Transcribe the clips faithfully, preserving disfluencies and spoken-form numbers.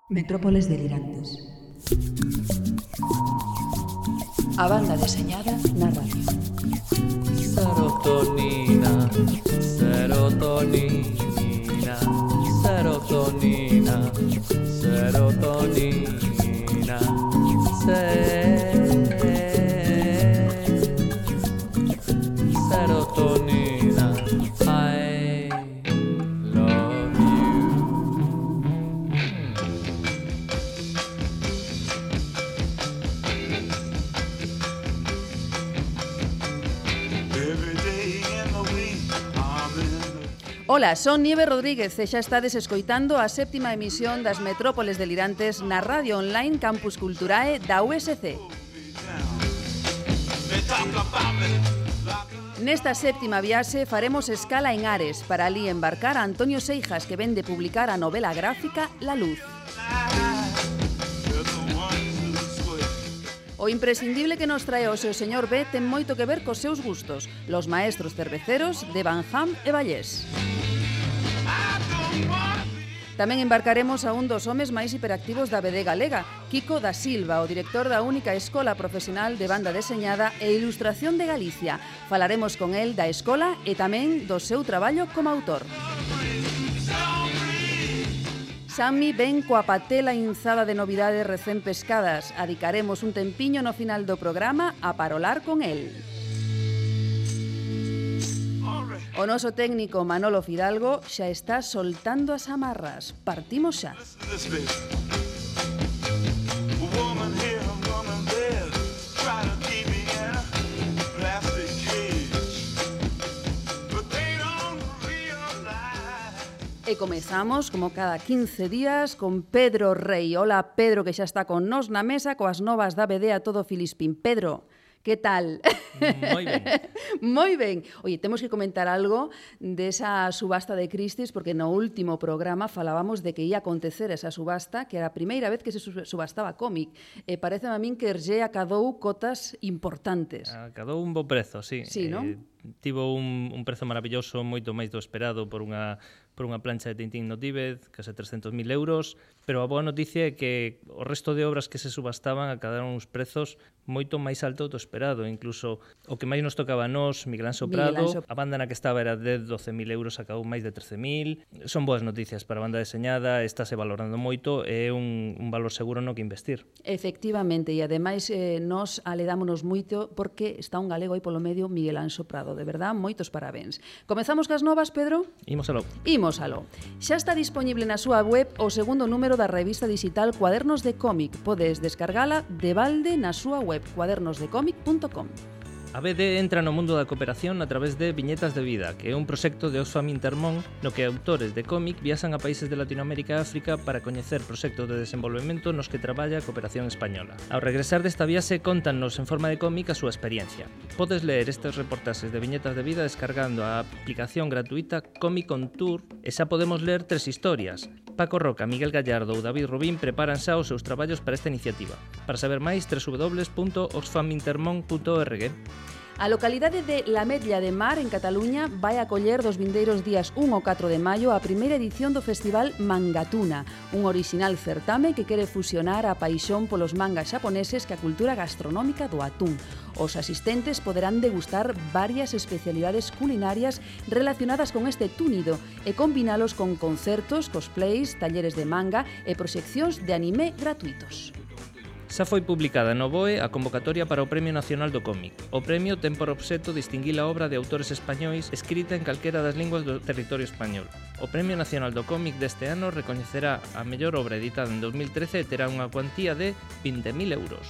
Metrópoles delirantes. A banda deseñada na radio. Serotonina, serotonina, serotonina, serotonina, se- serotonina, I love you. Every day in the week, I'm in the Ola, son Nieve Rodríguez e xa estades escoitando a séptima emisión das Metrópoles delirantes na radio online Campus Culturae da U S C. They talk about me like a Nesta séptima viaxe faremos escala en Ares para ali embarcar a Antonio Seijas, que ven de publicar a novela gráfica La Luz. lie. They're the ones who swear. O imprescindible que nos trae o seu señor B ten moito que ver cos seus gustos, los maestros cerveceros de Van Ham e Vallés. I don't wanna be Tamén embarcaremos a un dos homes máis hiperactivos da B D galega, Kiko da Silva, o director da única escola profesional de banda deseñada e ilustración de Galicia. Falaremos con el da escola e tamén do seu traballo como autor. Sammy ven coa patela inzada de novidades recén pescadas. Adicaremos un tempiño no final do programa a parolar con el. alright. O noso técnico Manolo Fidalgo xa está soltando as amarras. Partimos xa. Listen to this, baby. A woman here, a woman there, try to keep me in a plastic cage, but they don't realize. E comezamos, como cada quince días, con Pedro Rei. Hola, Pedro, que xa está con nós na mesa coas novas da B D a todo Filispín. Pedro, que tal? Moi ben. Moi ben. Oye, temos que comentar algo desa subasta de Christie's, porque no último programa falábamos de que ia acontecer esa subasta, que era a primeira vez que se su- subastaba cómic. E parece a min que Hergé acadou cotas importantes. Acadou un bo prezo, sí. Sí, non? Eh, tivo un, un prezo maravilloso, moito máis do esperado por unha por unha plancha de Tintín no Tíbet, case trescentos mil euros, pero a boa noticia é que o resto de obras que se subastaban acadaron uns prezos moito máis altos do esperado, incluso o que máis nos tocaba a nós, Miguel Anxo Miguel Prado, Anxo. a banda na que estaba era de doce mil euros, acabou máis de trece mil. Son boas noticias para a banda deseñada, estáse valorando moito, é un, un valor seguro no que investir. Efectivamente, e ademais eh, nos aledámonos moito porque está un galego aí polo medio, Miguel Anxo Prado. De verdad, moitos parabéns. Comezamos cas novas, Pedro? Imos aló. Imos aló. Xa está disponible na súa web o segundo número da revista digital Cuadernos de Cómic. Podes descargala de balde na súa web cuadernos de cómic punto com. A B D entra no mundo da cooperación a través de Viñetas de Vida, que é un proxecto de Oxfam Intermón no que autores de cómic viaxan a países de Latinoamérica e África para coñecer proxectos de desenvolvemento nos que traballa a cooperación española. Ao regresar desta viaxe, contannos en forma de cómic a súa experiencia. Podes ler estes reportaxes de Viñetas de Vida descargando a aplicación gratuita Comic on Tour e xa podemos ler tres historias. Paco Roca, Miguel Gallardo ou David Rubín preparan xa os seus traballos para esta iniciativa. Para saber máis, doble u doble u doble u punto oxfam intermón punto org. A localidade de La Medlla de Mar, en Cataluña, vai acoller dos vindeiros días un ao catro de maio a primeira edición do Festival Mangatuna, un orixinal certame que quere fusionar a paixón polos mangas xaponeses que a cultura gastronómica do atún. Os asistentes poderán degustar varias especialidades culinarias relacionadas con este túnido e combinalos con concertos, cosplays, talleres de manga e proxeccións de anime gratuitos. Xa foi publicada no B O E a convocatoria para o Premio Nacional do Cómic. O premio ten por obxecto distinguir a obra de autores españois escrita en calquera das linguas do territorio español. O Premio Nacional do Cómic deste ano recoñecerá a mellor obra editada en dos mil trece e terá unha cuantía de vinte mil euros.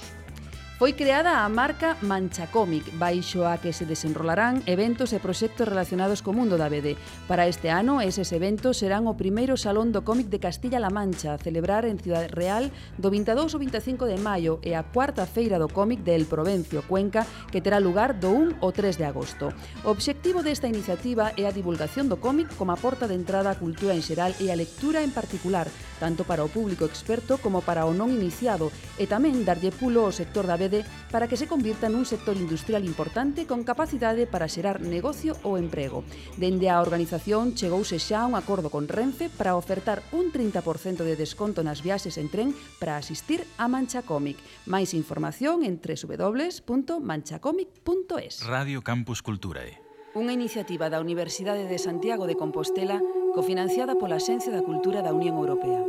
Foi creada a marca Mancha Cómic, baixo a que se desenrolarán eventos e proxectos relacionados co mundo da B D. Para este ano, eses eventos serán o primeiro Salón do Cómic de Castilla-La Mancha, a celebrar en Ciudad Real do vinte e dous ao vinte e cinco de maio, e a cuarta Feira do Cómic de El Provencio, Cuenca, que terá lugar do un ao tres de agosto. O obxectivo desta iniciativa é a divulgación do cómic como a porta de entrada á cultura en xeral e a lectura en particular, tanto para o público experto como para o non iniciado, e tamén darlle pulo ao sector da B D procede para que se convirta nun sector industrial importante con capacidade para xerar negocio ou emprego. Dende a organización chegouse xa a un acordo con Renfe para ofertar un trinta por cento de desconto nas viaxes en tren para asistir a Mancha Cómic. Máis información en doble u doble u doble u punto manchacomic punto es. Radio Campus Culturae. Unha iniciativa da Universidade de Santiago de Compostela cofinanciada pola Axencia da Cultura da Unión Europea.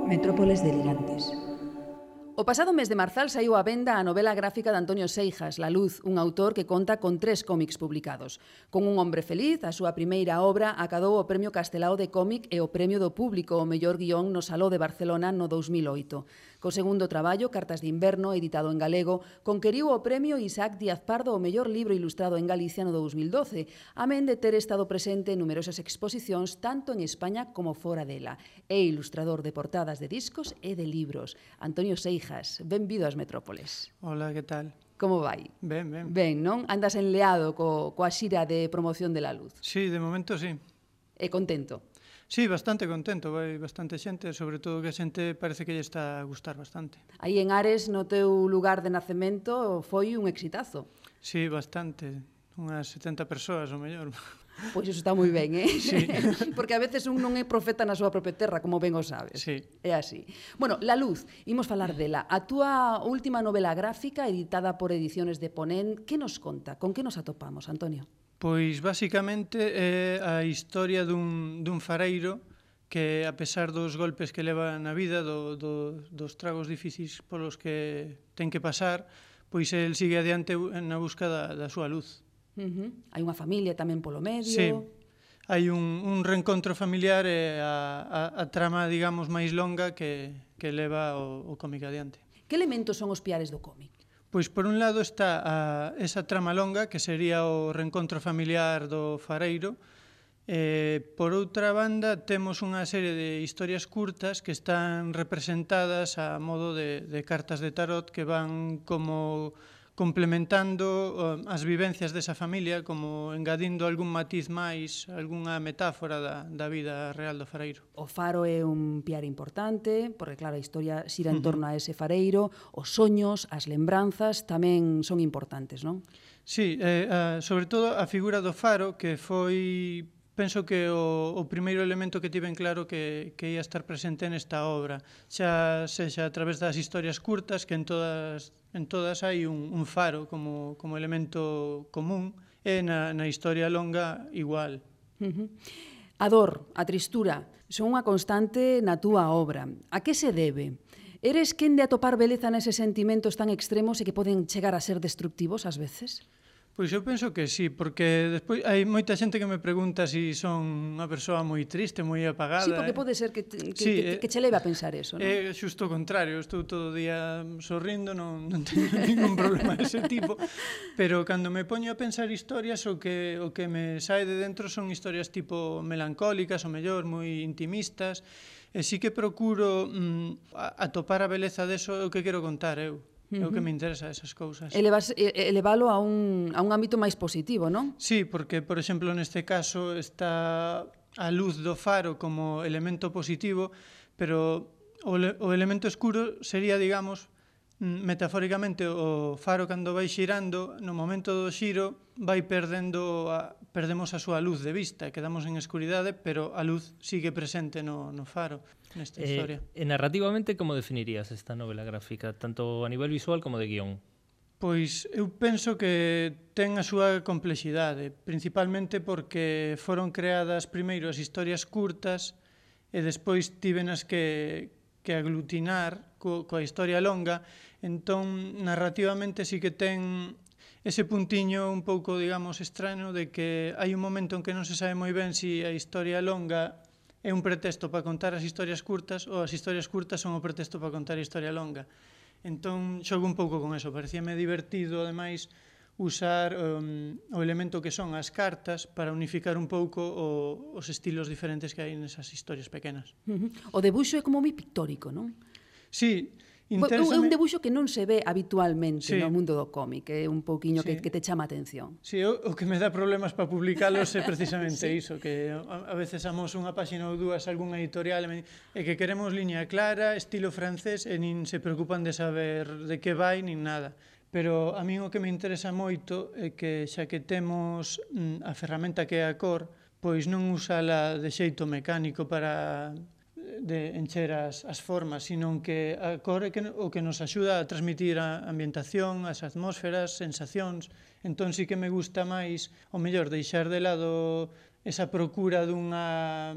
Metrópoles delirantes. O pasado mes de marzal saiu á venda a novela gráfica de Antonio Seijas, La Luz, un autor que conta con tres cómics publicados. Con Un hombre feliz, a súa primeira obra acadou o Premio Castelao de Cómic e o Premio do Público ao mellor guión no Saló de Barcelona no dous mil oito. Co segundo traballo, Cartas de inverno, editado en galego, conqueriu o Premio Isaac Díaz Pardo ao mellor libro ilustrado en Galicia no dous mil doce, amén de ter estado presente en numerosas exposicións tanto en España como fora dela. É ilustrador de portadas de discos e de libros. Antonio Seijas, benvido ás Metrópoles. Hola, que tal? Como vai? Ben, ben. Ben, non? Andas enleado co, coa xira de promoción de La Luz. Sí, de momento sí. E contento? Sí, bastante contento, vai bastante xente, sobre todo que a xente parece que lle está a gustar bastante. Aí en Ares, no teu lugar de nacemento, foi un exitazo. Sí, bastante, unhas setenta persoas o mellor. Pois iso está moi ben, eh? Sí. Porque a veces un non é profeta na súa propia terra, como ben o sabes. Sí. É así. Bueno, La Luz, imos falar dela. A túa última novela gráfica, editada por Ediciones de Ponent, que nos conta? Con que nos atopamos, Antonio? Pois, basicamente, é a historia dun, dun fareiro que, a pesar dos golpes que leva na vida, do, do, dos tragos difíciles polos que ten que pasar, pois el sigue adiante na busca da, da súa luz. Uh-huh. Hai unha familia tamén polo medio. Sí, hai un, un reencontro familiar e a, a, a trama, digamos, máis longa que, que leva o, o cómic adiante. Que elementos son os piares do cómic? Pois, por un lado, está a, esa trama longa, que sería o reencontro familiar do fareiro. E, por outra banda, temos unha serie de historias curtas que están representadas a modo de, de cartas de tarot que van como complementando as vivencias desa familia, como engadindo algún matiz máis, algunha metáfora da, da vida real do fareiro. O faro é un piar importante, porque claro, a historia xira en torno a ese fareiro, os soños, as lembranzas tamén son importantes, non? Sí, eh, a, sobre todo a figura do faro, que foi, penso que o, o primeiro elemento que tiven claro que, que ia estar presente nesta obra, xa sexa a través das historias curtas, que en todas en todas hai un, un faro como, como elemento común, e na, na historia longa igual. Uh-huh. A dor, a tristura, son unha constante na túa obra. A que se debe? Eres quen de atopar beleza neses sentimentos tan extremos e que poden chegar a ser destructivos ás veces? Pois eu penso que sí, porque despois hai moita xente que me pregunta se si son unha persoa moi triste, moi apagada. Sí, porque pode ser que, te, que, sí, que, que che leve a pensar eso, non? É xusto o contrario, estou todo o día sorrindo, non, non teño ningún problema dese tipo, pero cando me poño a pensar historias, o que, o que me sae de dentro son historias tipo melancólicas, o mellor, moi intimistas, e sí que procuro mm, atopar a beleza deso, o que quero contar eu. É o que me interesa esas cousas. Elevas, elevalo a un, a un ámbito máis positivo, non? Sí, porque, por exemplo, neste caso está a luz do faro como elemento positivo, pero o, o elemento escuro sería, digamos, metafóricamente, o faro cando vai xirando, no momento do xiro vai perdendo a, perdemos a súa luz de vista, quedamos en escuridade, pero a luz sigue presente no, no faro nesta eh, historia. E narrativamente, como definirías esta novela gráfica, tanto a nivel visual como de guión? Pois eu penso que ten a súa complexidade, principalmente porque foron creadas primeiro as historias curtas e despois tívenas que, que aglutinar co, coa historia longa, entón narrativamente sí que ten ese puntiño un pouco, digamos, extraño de que hai un momento en que non se sabe moi ben se si a historia longa é un pretexto para contar as historias curtas ou as historias curtas son o pretexto para contar a historia longa. Entón, xogo un pouco con eso. Parecíame divertido, ademais, usar um, o elemento que son as cartas para unificar un pouco o, os estilos diferentes que hai nesas historias pequenas. Uh-huh. O debuxo é como moi pictórico, non? Sí, É un debuxo que non se ve habitualmente sí. no mundo do cómic, é un pouquiño Sí. que, que te chama a atención. Sí, o, o que me dá problemas para publicalos é precisamente sí. iso, que a, a veces amos unha páxina ou dúas algunha editorial e, me, e que queremos liña clara, estilo francés, e nin se preocupan de saber de que vai, nin nada. Pero a min o que me interesa moito é que xa que temos mm, a ferramenta que é a cor, pois non usala de xeito mecánico para de encher as, as formas, sino que a cor é que, o que nos axuda a transmitir a ambientación, as atmósferas, sensacións. Entón sí que me gusta máis, o mellor, deixar de lado esa procura dunha,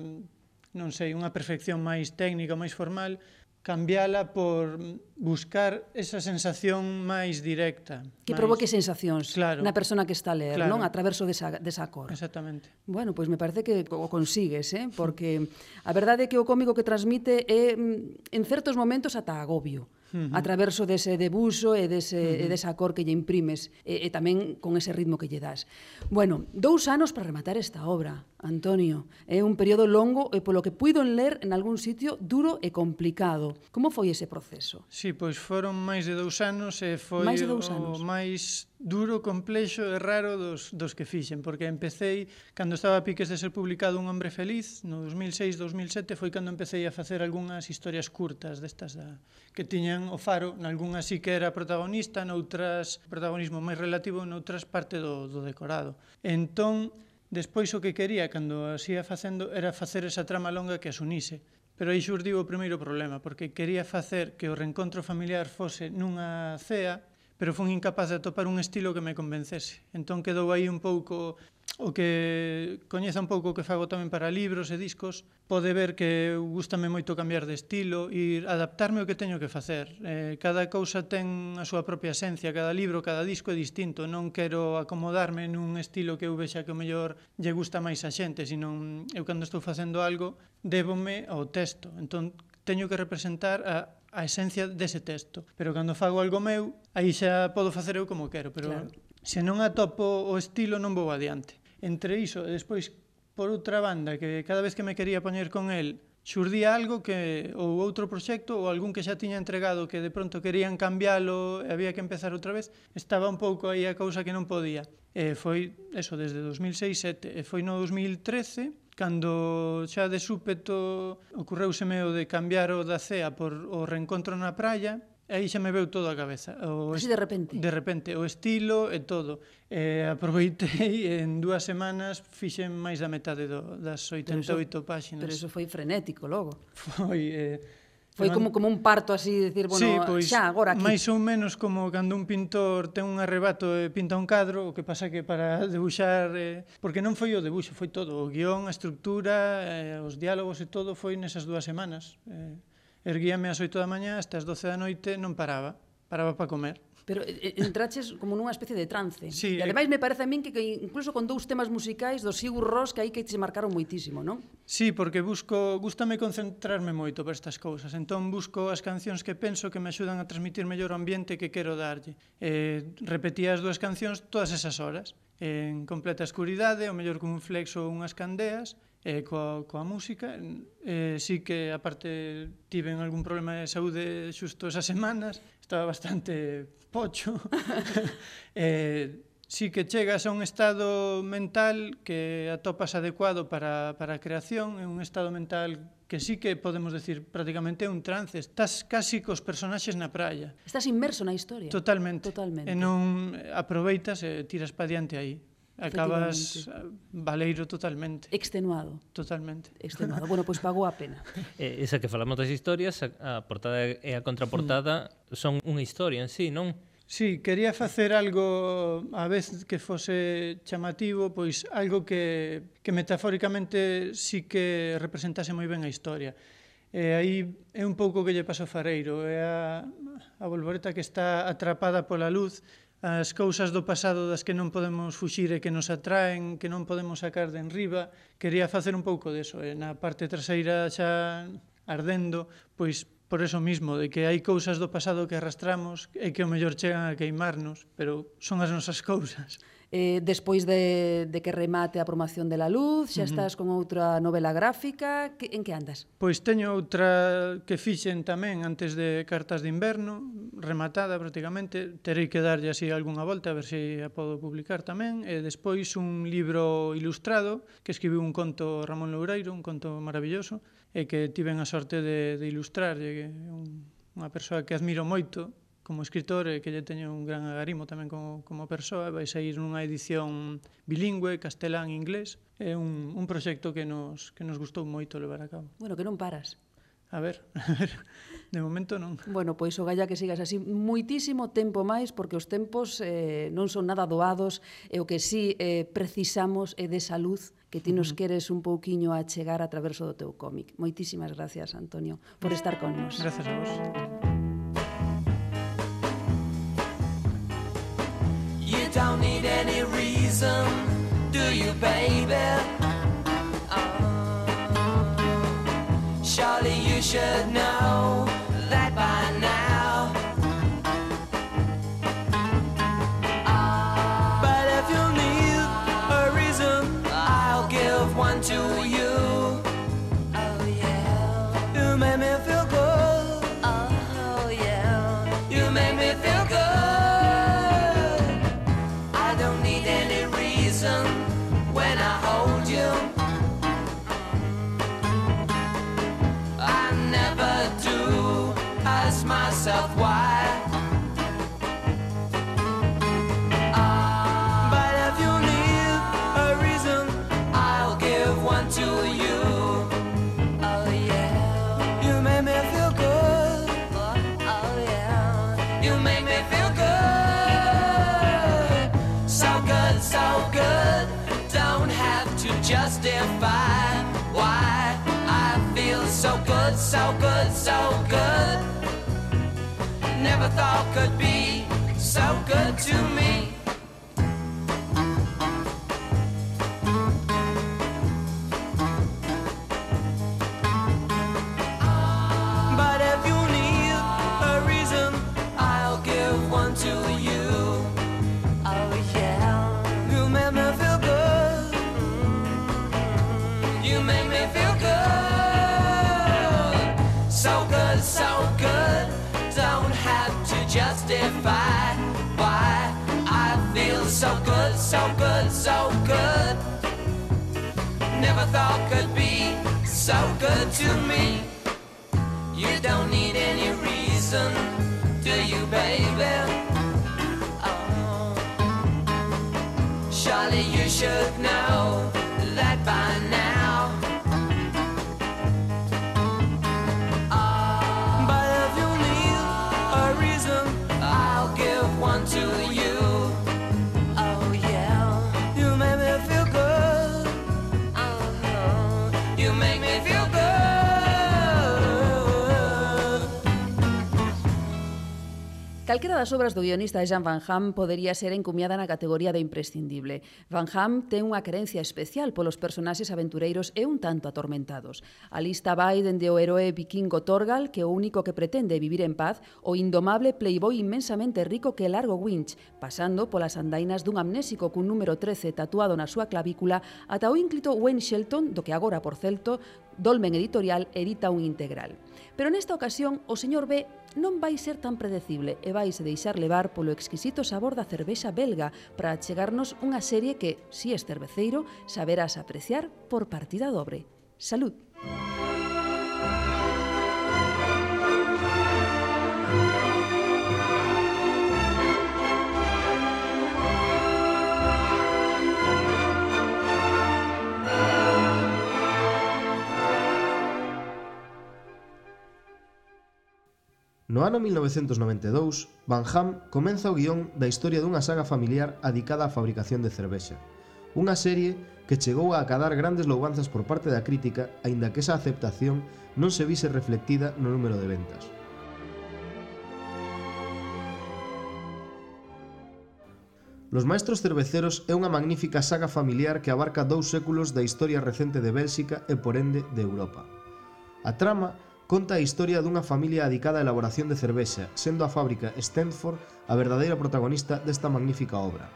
non sei, unha perfección máis técnica, máis formal, cambiala por buscar esa sensación máis directa. Que máis... provoque sensacións claro. na persona que está a ler, Claro. non? A traverso desa, desa cor. Exactamente. Bueno, pois me parece que o consigues, eh? Porque a verdade é que o cómico que transmite é, en certos momentos, ata agobio. Uh -huh. A traverso dese debuxo e, dese, uh -huh. e desa cor que lle imprimes e, e tamén con ese ritmo que lle das. Bueno, dous anos para rematar esta obra, Antonio. É un período longo e polo que puido ler en algún sitio duro e complicado. Como foi ese proceso? Sí, pois foron máis de dous anos e foi máis de dous o anos. máis duro, complexo e raro dos, dos que fixen, porque empecéi, cando estaba a piques de ser publicado Un hombre feliz, no dos mil seis dos mil sete, foi cando empecéi a facer algunhas historias curtas destas da, que tiñan o faro, nalgunhas sí que era protagonista, noutras protagonismo máis relativo, noutras parte do, do decorado. Entón, despois o que quería, cando as ia facendo, era facer esa trama longa que as unise. Pero aí xurdiu o primeiro problema, porque quería facer que o reencontro familiar fose nunha cea, pero fun incapaz de atopar un estilo que me convencese. Entón quedou aí un pouco o que coñeza un pouco o que fago tamén para libros e discos, pode ver que gústame moito cambiar de estilo e adaptarme ao que teño que facer. Eh, cada cousa ten a súa propia esencia, cada libro, cada disco é distinto. Non quero acomodarme nun estilo que eu vexa que o mellor lle gusta máis a xente, sino eu cando estou facendo algo débome ao texto. Entón teño que representar a a esencia dese texto, pero cando fago algo meu, aí xa podo facer eu como quero, pero claro. Se non atopo o estilo non vou adiante. Entre iso, e despois, por outra banda, que cada vez que me quería poñer con el, xurdía algo que, ou outro proxecto, ou algún que xa tiña entregado que de pronto querían cambiálo e había que empezar outra vez, estaba un pouco aí a cousa que non podía. E foi, eso, desde dos mil seis sete, e foi no dos mil trece, cando xa de súpeto ocorreuseme o de cambiar o da cea por o reencontro na praia, aí xa me veu todo a cabeza. O Así de repente? De repente, o estilo e todo. E aproveitei, e en dúas semanas fixen máis da metade do, das oitenta e oito páxinas. Pero eso foi frenético logo. Foi... Eh, Foi como, como un parto así, decir, bueno, sí, pois, xa, agora aquí. máis ou menos como cando un pintor ten un arrebato e pinta un cadro, o que pasa que para debuxar, eh, porque non foi o debuxo, foi todo, o guión, a estructura, eh, os diálogos e todo foi nesas dúas semanas. Eh, erguíame ás oito da mañá, hasta as doce da noite non paraba, paraba para comer. Pero entraches como nunha especie de trance. Sí, e ademais me parece a min que, que incluso con dous temas musicais do Sigur Rós que aí que te marcaron moitísimo, non? Sí, porque busco, gústame concentrarme moito para estas cousas. Entón busco as cancións que penso que me axudan a transmitir mellor o ambiente que quero darlle. Eh, repetía as dúas cancións todas esas horas, en completa escuridade, o mellor con un flex ou unhas candeas, e coa, coa música. Eh, sí que, aparte, tiven algún problema de saúde xusto esas semanas, estaba bastante pocho. eh, sí que chegas a un estado mental que atopas adecuado para, para a creación, é un estado mental que sí que podemos decir prácticamente é un trance, estás casi cos personaxes na praia. Estás inmerso na historia. Totalmente. Totalmente. E non aproveitas e tiras pa diante aí. Acabas valeiro totalmente. Extenuado. Totalmente. Extenuado. Bueno, pois pues pagou a pena. Eh, esa que falamos das historias, a, a portada e a contraportada mm. son unha historia en sí, non? Sí, quería facer algo a vez que fose chamativo, pois algo que, que metafóricamente sí que representase moi ben a historia. E aí é un pouco que lle pasa ao fareiro, é a, a bolboreta que está atrapada pola luz, as cousas do pasado das que non podemos fuxir e que nos atraen, que non podemos sacar de enriba. Quería facer un pouco deso, e na parte traseira xa ardendo, pois por eso mismo, de que hai cousas do pasado que arrastramos e que o mellor chegan a queimarnos, pero son as nosas cousas. Eh, despois de, de que remate a promoción de La Luz, xa estás con outra novela gráfica. Que, en que andas? Pois teño outra que fixen tamén antes de Cartas de Inverno, rematada prácticamente. Terei que darlle así algunha volta a ver se a podo publicar tamén. E despois un libro ilustrado que escribiu un conto Ramón Loureiro, un conto maravilloso, e que tiven a sorte de, de ilustrar. É un, unha persoa que admiro moito como escritor e que lle teño un gran agarimo tamén como, como persoa. Vai sair nunha edición bilingüe, castelán e inglés. É un, un proxecto que nos, que nos gustou moito levar a cabo. Bueno, que non paras. A ver, a ver, de momento non. Bueno, pois o galla que sigas así moitísimo tempo máis, porque os tempos eh, non son nada doados, e o que sí eh, precisamos é desa luz que ti nos queres un pouquiño a chegar a través do teu cómic. Moitísimas gracias, Antonio, por estar con nos. Gracias a vos. You don't need any reason, do you, baby? Oh, surely you should know that by now. Oh, but if you need a reason, I'll give one to you. Oh yeah, you make me feel good. Oh yeah, you make me feel good. When I hold you, I never do ask myself why. Uh, but if you need a reason, I'll give one to you. Oh yeah, you make me feel good. Oh yeah, you make me feel good. So good, so good. Don't have to justify why I feel so good, so good, so good. Never thought could be so good to me. But if you need a reason, I'll give one to you. Oh yeah, you make me feel good. You make me feel good. So good, so good. Don't have to justify why I feel so good, so good, so good. Never thought could be so good to me. You don't need any reason, do you, baby? Oh, surely you should know that by now. Uh, but if you need a reason, I'll give one to you. Oh yeah, you make me feel good. Uh-huh. You make me feel good. Calquera das obras do guionista Jean Van Hamme podería ser encumiada na categoría de imprescindible. Van Hamme ten unha querencia especial polos personaxes aventureiros e un tanto atormentados. A lista vai dende o heroe vikingo Thorgal, que o único que pretende é vivir en paz, o indomable playboy inmensamente rico que Largo Winch, pasando polas andainas dun amnésico cun número trece tatuado na súa clavícula, ata o ínclito Wayne Shelton, do que agora, por certo, Dolmen Editorial edita un integral. Pero nesta ocasión, o señor B non vai ser tan predecible e vaise deixar levar polo exquisito sabor da cervexa belga para achegarnos unha serie que, si es cerveceiro, saberás apreciar por partida dobre. Salud! No ano mil novecentos noventa e dous, Van Hamme comeza o guión da historia dunha saga familiar adicada á fabricación de cervexa. Unha serie que chegou a acadar grandes louvanzas por parte da crítica, aínda que esa aceptación non se vise reflectida no número de ventas. Los Maestros Cerveceros é unha magnífica saga familiar que abarca dous séculos da historia recente de Bélxica e, por ende, de Europa. A trama conta a historia dunha familia adicada á elaboración de cervexa, sendo a fábrica Stenford a verdadeira protagonista desta magnífica obra.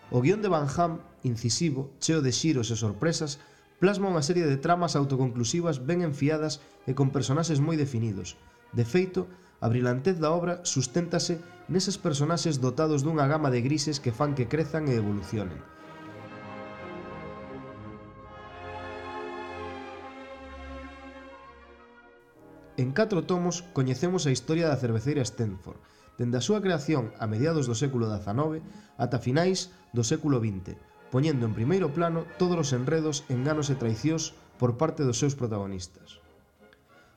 O guión de Van Hamme, incisivo, cheo de xiros e sorpresas, plasma unha serie de tramas autoconclusivas ben enfiadas e con personaxes moi definidos. De feito, a brilantez da obra susténtase neses personaxes dotados dunha gama de grises que fan que crezan e evolucionen. En catro tomos coñecemos a historia da cerveceira Stenford, dende a súa creación a mediados do século dezanove ata finais do século vinte, poñendo en primeiro plano todos os enredos, enganos e traicións por parte dos seus protagonistas.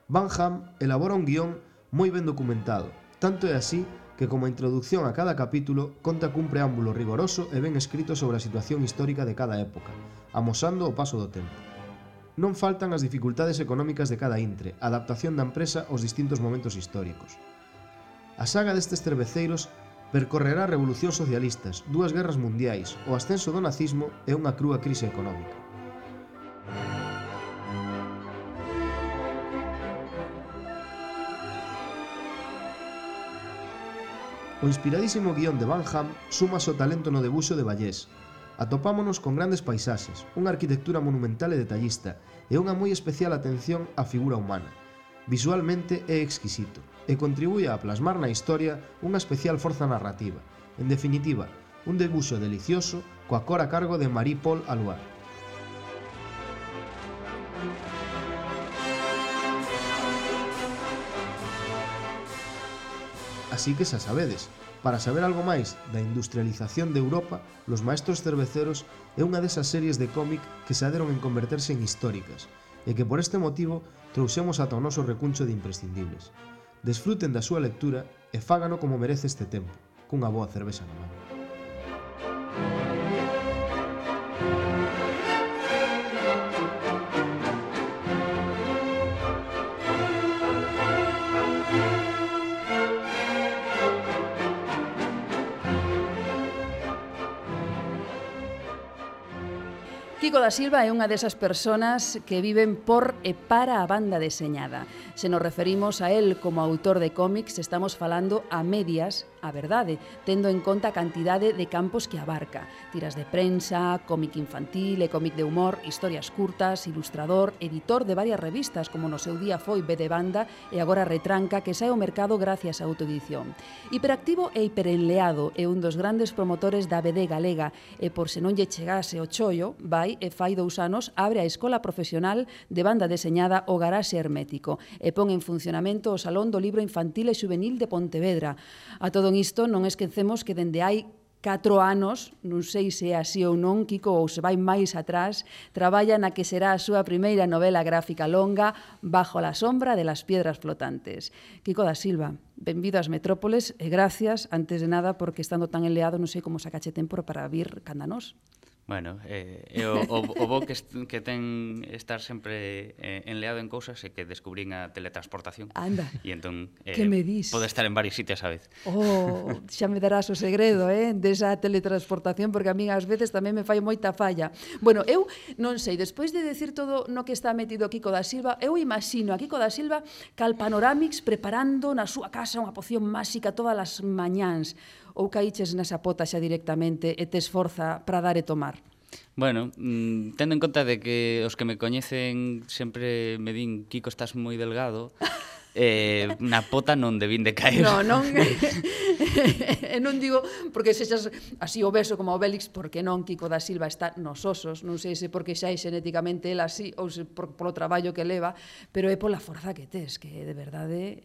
Van Hamme elabora un guión moi ben documentado, tanto é así que como introducción a cada capítulo conta cun preámbulo rigoroso e ben escrito sobre a situación histórica de cada época, amosando o paso do tempo. Non faltan as dificultades económicas de cada intre, a adaptación da empresa aos distintos momentos históricos. A saga destes cerveceiros percorrerá revolucións socialistas, dúas guerras mundiais, o ascenso do nazismo e unha crúa crise económica. O inspiradísimo guión de Van Hamme suma o talento no debuxo de Vallés. Atopámonos con grandes paisaxes, unha arquitectura monumental e detallista e unha moi especial atención á figura humana. Visualmente é exquisito e contribúe a plasmar na historia unha especial forza narrativa. En definitiva, un debuxo delicioso coa cor a cargo de Marie-Paul Alouard. Así que xa sabedes, para saber algo máis da industrialización de Europa, Los Maestros Cerveceros é unha desas series de cómic que se aderon en converterse en históricas e que por este motivo trouxemos ata o noso recuncho de imprescindibles. Desfruten da súa lectura e fágano como merece este tempo, cunha boa cervexa na man. Kiko da Silva é unha desas persoas que viven por e para a banda deseñada. Se nos referimos a él como autor de cómics, estamos falando a medias a verdade, tendo en conta a cantidade de campos que abarca. Tiras de prensa, cómic infantil e cómic de humor, historias curtas, ilustrador, editor de varias revistas, como no seu día foi B de Banda e agora Retranca, que sae ao mercado gracias á autoedición. Hiperactivo e hiperenleado, é un dos grandes promotores da B D galega e por se non lle chegase o chollo, vai e fai dous anos abre a Escola Profesional de Banda Deseñada O Garaxe Hermético e pon en funcionamento o Salón do Libro Infantil e Xuvenil de Pontevedra. A todo isto non esquecemos que dende hai catro anos, non sei se é así ou non, Kiko, ou se vai máis atrás, traballa na que será a súa primeira novela gráfica longa, Bajo la sombra de las piedras flotantes. Kiko da Silva, benvido ás Metrópoles e gracias, antes de nada, porque estando tan enleado non sei como sacache tempo para vir canda nós. Bueno, eh, é o, o, o bo que, est, que ten estar sempre eh, enleado en cousas e que descubrín a teletransportación. Anda, e entón, eh, que me dis? Pode estar en varios sitios a vez. Oh, xa me darás o segredo, eh, desa teletransportación, porque a mí ás veces tamén me fai moita falla. Bueno, eu non sei, despois de decir todo no que está metido Kiko da Silva, eu imagino a Kiko da Silva cal Panoramix preparando na súa casa unha poción máxica todas as mañáns, ou caíches nesa pota xa directamente e te esforza para dar e tomar? Bueno, mmm, tendo en conta de que os que me coñecen sempre me din Kiko, estás moi delgado, eh, na pota non debín de caer. No, non, e non digo porque sexas así obeso como o Bélix, porque non, Kiko da Silva está nos osos, non sei se porque xa é xenéticamente el así ou se por, polo traballo que leva, pero é pola forza que tes, que de verdade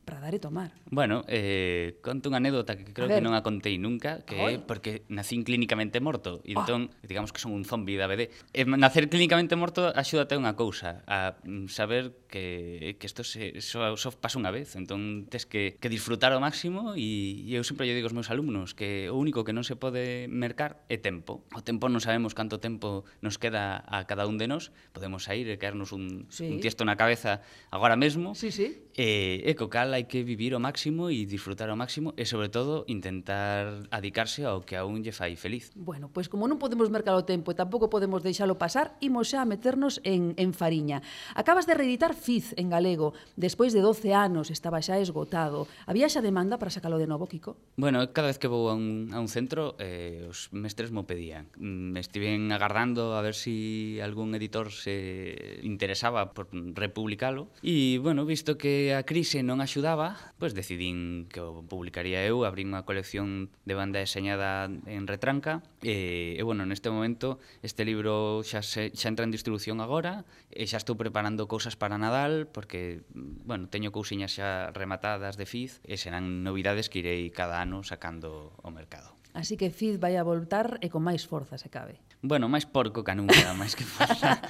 para dar e tomar. Bueno, eh, conto unha anécdota que creo que non a contei nunca, que é porque nacín clínicamente morto, e entón, oh. digamos que son un zombi da B D. E nacer clínicamente morto axúdate a unha cousa, a saber que, que isto se, só, só pasa unha vez, entón tes que, que disfrutar ao máximo, e, e eu sempre lle digo aos meus alumnos que o único que non se pode mercar é tempo. O tempo non sabemos canto tempo nos queda a cada un de nós, podemos sair e caernos un, sí. un tiesto na cabeza agora mesmo, sí, sí. E, e co cal hai que vivir ao máximo e disfrutar ao máximo e, sobre todo, intentar adicarse ao que a un lle fai feliz. Bueno, pois como non podemos mercar o tempo e tampouco podemos deixalo pasar, imos xa a meternos en, en fariña. Acabas de reeditar Fiz en galego. Despois de doce anos estaba xa esgotado. Había xa demanda para sacalo de novo, Kiko? Bueno, cada vez que vou a un, a un centro, eh, os mestres mo pedían. Me estiven agardando a ver si algún editor se interesaba por republicalo. E, bueno, visto que a crise non axudaba, pois decidín que o publicaría eu, abrí unha colección de banda deseñada en retranca, e, e bueno, neste momento este libro xa, se, xa entra en distribución agora, e xa estou preparando cousas para Nadal, porque, bueno, teño cousiñas xa rematadas de Fiz, e serán novidades que irei cada ano sacando ao mercado. Así que Fiz vai a voltar e con máis forza, se cabe. Bueno, máis porco que nunca, máis que forza.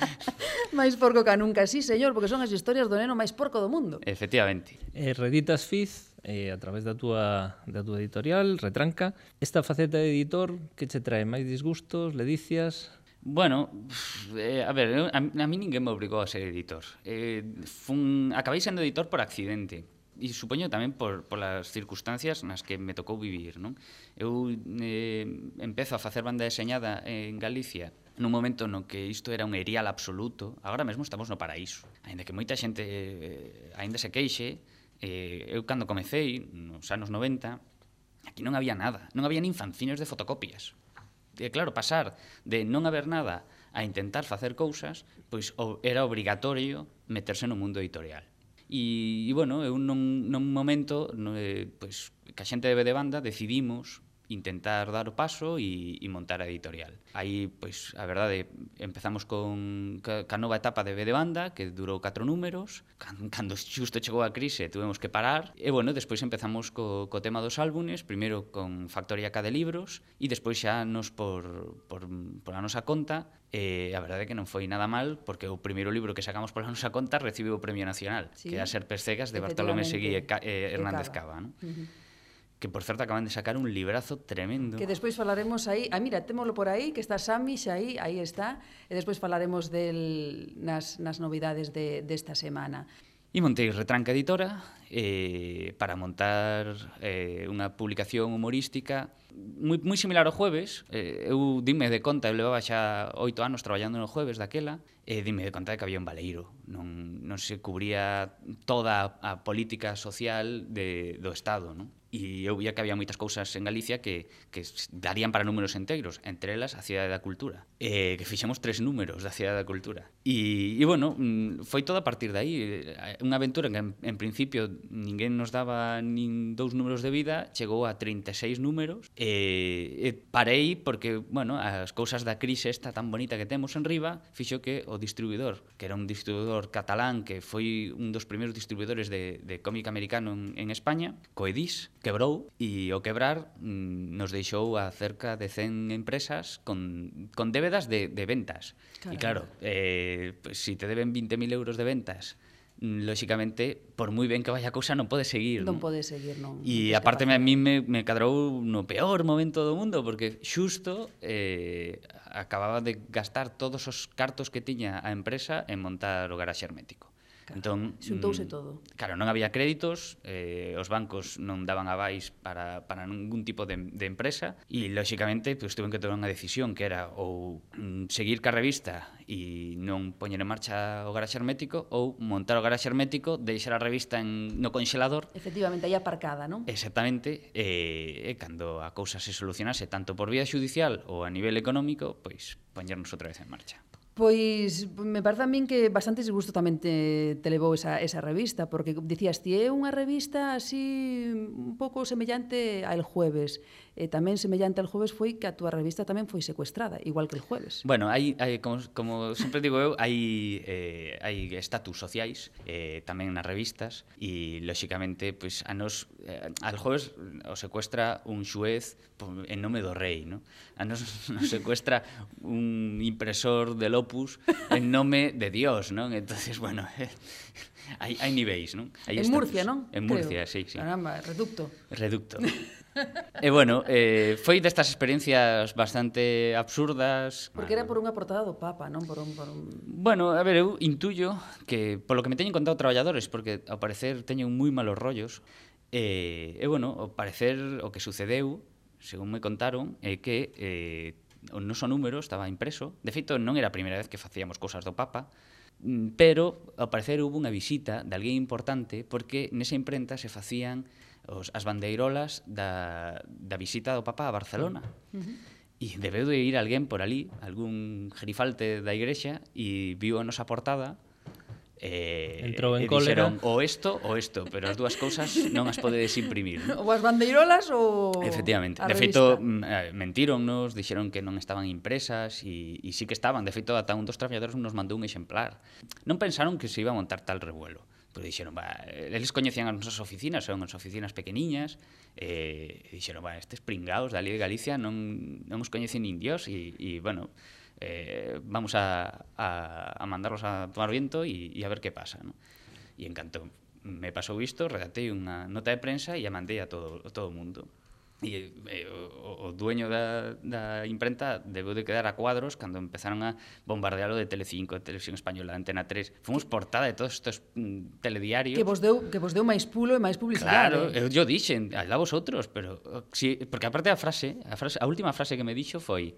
Máis porco que nunca, sí, señor, porque son as historias do neno máis porco do mundo. Efectivamente. Eh, reeditas Fiz eh, a través da túa, da túa editorial, Retranca. Esta faceta de editor que che trae máis disgustos, ledicias? Bueno, eh, a ver, eu, a, a mí ninguén me obrigou a ser editor. Eh, fun, acabei sendo editor por accidente. E supoño tamén por, por as circunstancias nas que me tocou vivir, non? Eu eh, empezo a facer banda deseñada en Galicia nun momento no que isto era un erial absoluto. Agora mesmo estamos no paraíso. Ainda que moita xente eh, ainda se queixe, eh, eu cando comecei, nos anos noventa, aquí non había nada. Non había nin fanzines de fotocopias. E claro, pasar de non haber nada a intentar facer cousas, pois era obrigatorio meterse no mundo editorial. E, e bueno, eu nun, nun momento no, eh, pois, que a xente de B de Banda decidimos intentar dar o paso e, e montar a editorial. Aí, pois, a verdade, empezamos con ca, ca nova etapa de B de Banda, que durou catro números. Cando, cando xusto chegou a crise, tuvemos que parar. E, bueno, despois empezamos co, co tema dos álbumes, primeiro con Factoría K de Libros, e despois xa nos por, por, por a nosa conta. E a verdade é que non foi nada mal, porque o primeiro libro que sacamos pola nosa conta recibiu o Premio Nacional, sí, que é As Serpes Cegas, de Bartolomé Seguí e eh, Hernández Cava, non? Uh-huh. Que, por certo, acaban de sacar un librazo tremendo. Que despois falaremos aí, ah, mira, témolo por aí, que está Sami, xa aí, aí está, e despois falaremos del, nas, nas novidades de, desta semana. E montei Retranca Editora eh, para montar eh, unha publicación humorística moi, moi similar ao Jueves. Eh, eu dime de conta, eu levaba xa oito anos traballando no Jueves daquela, e dime de conta de que había un baleiro. Non, non se cubría toda a política social de, do Estado, non? E eu via que había moitas cousas en Galicia que, que darían para números enteiros, entre elas a Cidade da Cultura, eh, que fixemos tres números da Cidade da Cultura. E, e bueno, foi todo a partir de aí. Unha aventura que en, en principio ninguén nos daba nin dous números de vida, chegou a trinta e seis números, e, e parei porque, bueno, as cousas da crise esta tan bonita que temos en riba, fixo que o distribuidor, que era un distribuidor catalán, que foi un dos primeiros distribuidores de, de cómic americano en, en España, Coedís, quebrou, e ao quebrar mm, nos deixou a cerca de cen empresas con, con débedas de, de ventas. Caramba. E claro, eh, pues, si te deben veinte mil euros de ventas, lóxicamente, por moi ben que vaya a cousa, non pode seguir. Non, non pode seguir, non. E non aparte, a mí me, me cadrou no peor momento do mundo, porque xusto eh, acababa de gastar todos os cartos que tiña a empresa en montar o garaxe hermético. Claro, entón, xuntouse mm, todo. Claro, non había créditos, eh, os bancos non daban avais para, para ningún tipo de, de empresa, e, lóxicamente, pues, tuve que tomar unha decisión que era ou mm, seguir ca revista e non poñer en marcha o garaxe hermético, ou montar o garaxe hermético, deixar a revista en, no conxelador. Efectivamente, aí aparcada, non? Exactamente, e, e cando a cousa se solucionase tanto por vía judicial ou a nivel económico, pois poñernos outra vez en marcha. Pois me parece a min que bastante disgusto tamén te, te levou esa, esa revista, porque dicías, ti é unha revista así un pouco semellante a El Jueves. E tamén semellante al Jueves foi que a túa revista tamén foi secuestrada, igual que El Jueves. Bueno, hai, hai como, como sempre digo eu, hai, eh, hai estatus sociais eh, tamén nas revistas, e, lóxicamente, pues, a nos, eh, al Jueves o secuestra un xuez en nome do rei, ¿no? A nos, nos secuestra un impresor del Opus en nome de Dios, non? Entonces, bueno, eh, hai, hai niveis, non? Hai en estatus. Murcia, non? En Murcia, Creo. sí, sí. Caramba, reducto. Reducto. E bueno, eh, foi destas experiencias bastante absurdas. Porque era por unha portada do Papa, non por un... Por un... Bueno, a ver, eu intuyo que, polo que me teñen contado traballadores, porque ao parecer teñen moi malos rollos, e, e bueno, ao parecer o que sucedeu, según me contaron, é que eh, o noso número estaba impreso. De feito, non era a primeira vez que facíamos cousas do Papa, pero ao parecer hubo unha visita de alguén importante, porque nesa imprenta se facían os, as bandeirolas da, da visita do Papa a Barcelona. Uh-huh. E debeu de ir alguén por ali, algún gerifalte da igrexa, e viu a nosa portada, e, entrou en e cólera. dixeron o isto ou isto, pero as dúas cousas non as podedes imprimir. Ou as bandeirolas ou Efectivamente. a De revista. feito, mentíronnos, dixeron que non estaban impresas, e, e sí que estaban. De feito, ata un dos traballadores nos mandou un exemplar. Non pensaron que se iba a montar tal revuelo. Pero dixeron, va, eles coñecían as nosas oficinas, son as oficinas pequeniñas, e dixeron, va, estes pringados dali de Galicia non, non os coñecen nin Dios, e, e bueno, eh, vamos a, a, a mandarlos a tomar viento e, e a ver que pasa, ¿no? E en canto me pasou isto, redactei unha nota de prensa e a mandei a todo, a todo o mundo. E eh, o, o dueño da, da imprenta debeu de quedar a cuadros cando empezaron a bombardealo de Telecinco, de Televisión Española, de Antena tres. Fomos portada de todos estes mm, telediarios. Que vos deu, que vos deu máis pulo e máis publicidade. Claro, eu yo dixen, alá vosotros, pero si, porque aparte a frase, a frase, a última frase que me dixo foi: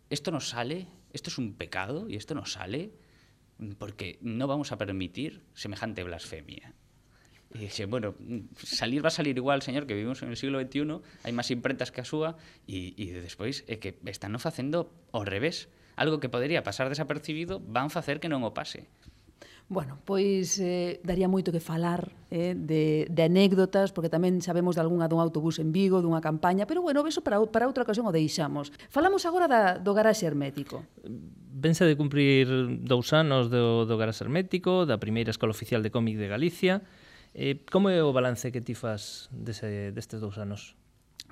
"Esto nos sale, esto es un pecado y esto nos sale porque no vamos a permitir semejante blasfemia." E dixe, bueno, salir va a salir igual, señor, que vivimos en el siglo veintiuno, hai máis imprentas que a súa, e, e despois é que están facendo ao revés. Algo que podería pasar desapercibido, van facer que non o pase. Bueno, pois eh, daría moito que falar eh, de, de anécdotas, porque tamén sabemos de algunha dun autobús en Vigo, dunha campaña, pero bueno, eso para, para outra ocasión o deixamos. Falamos agora da, do garaxe hermético. Vense de cumprir dous anos do, do garaxe hermético, da primeira escola oficial de cómic de Galicia. Eh, como é o balance que ti fas dese, destes dous anos?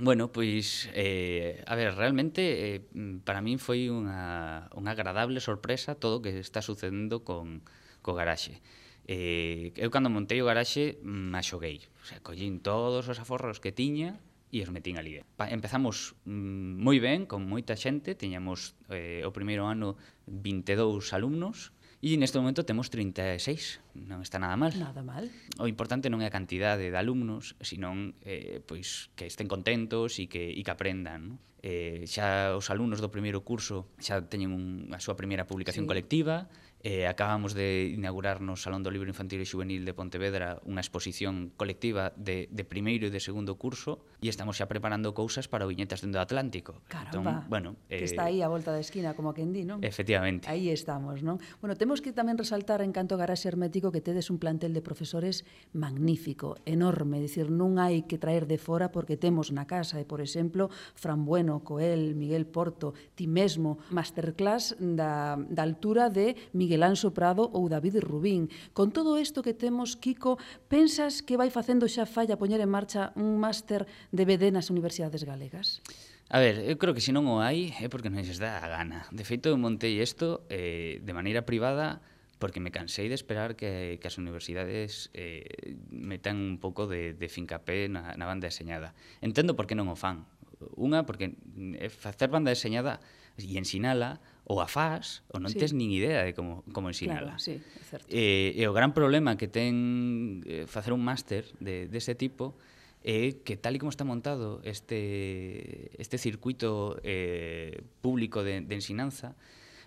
Bueno, pois, eh, a ver, realmente eh, para min foi unha, unha agradable sorpresa todo o que está sucedendo con, co garaxe. Eh, eu cando montei o garaxe me axoguei, o sea, collín todos os aforros que tiña e os metín ali. Pa, empezamos mm, moi ben, con moita xente, tiñamos eh, o primeiro ano vinte e dous alumnos, e neste momento temos trinta e seis, non está nada mal. Nada mal. O importante non é a cantidade de alumnos, senón eh, pois, que estén contentos e que, e que aprendan. No? Eh, xa os alumnos do primeiro curso xa teñen un, a súa primeira publicación Sí. colectiva, eh, acabamos de inaugurar no Salón do Libro Infantil e Xuvenil de Pontevedra unha exposición colectiva de, de primeiro e de segundo curso, e estamos xa preparando cousas para o Viñetas dende o Atlántico. Caramba, Entón, bueno, que eh, está aí a volta da esquina, como quen di, non? Efectivamente. Aí estamos, non? Bueno, temos que tamén resaltar en canto a garaxe hermético que tedes un plantel de profesores magnífico, enorme, é dicir, non hai que traer de fora porque temos na casa, e por exemplo, Fran Bueno, Coel, Miguel Porto, ti mesmo, masterclass da, da altura de Miguel Anxo Prado ou David Rubín. Con todo isto que temos, Kiko, pensas que vai facendo xa falla poñer en marcha un máster de B D nas universidades galegas? A ver, eu creo que se non o hai é porque non lles dá a gana. De feito, eu montei isto eh, de maneira privada porque me cansei de esperar que, que as universidades eh, metan un pouco de, de fincapé na, na banda deseñada. Entendo por que non o fan. Unha, porque facer banda deseñada e ensinala, ou a faz, ou non Sí. tes nin idea de como, como ensinala. Claro, sí, é certo. E, e o gran problema que ten eh, facer un máster de, dese tipo é que tal e como está montado este, este circuito eh, público de, de ensinanza,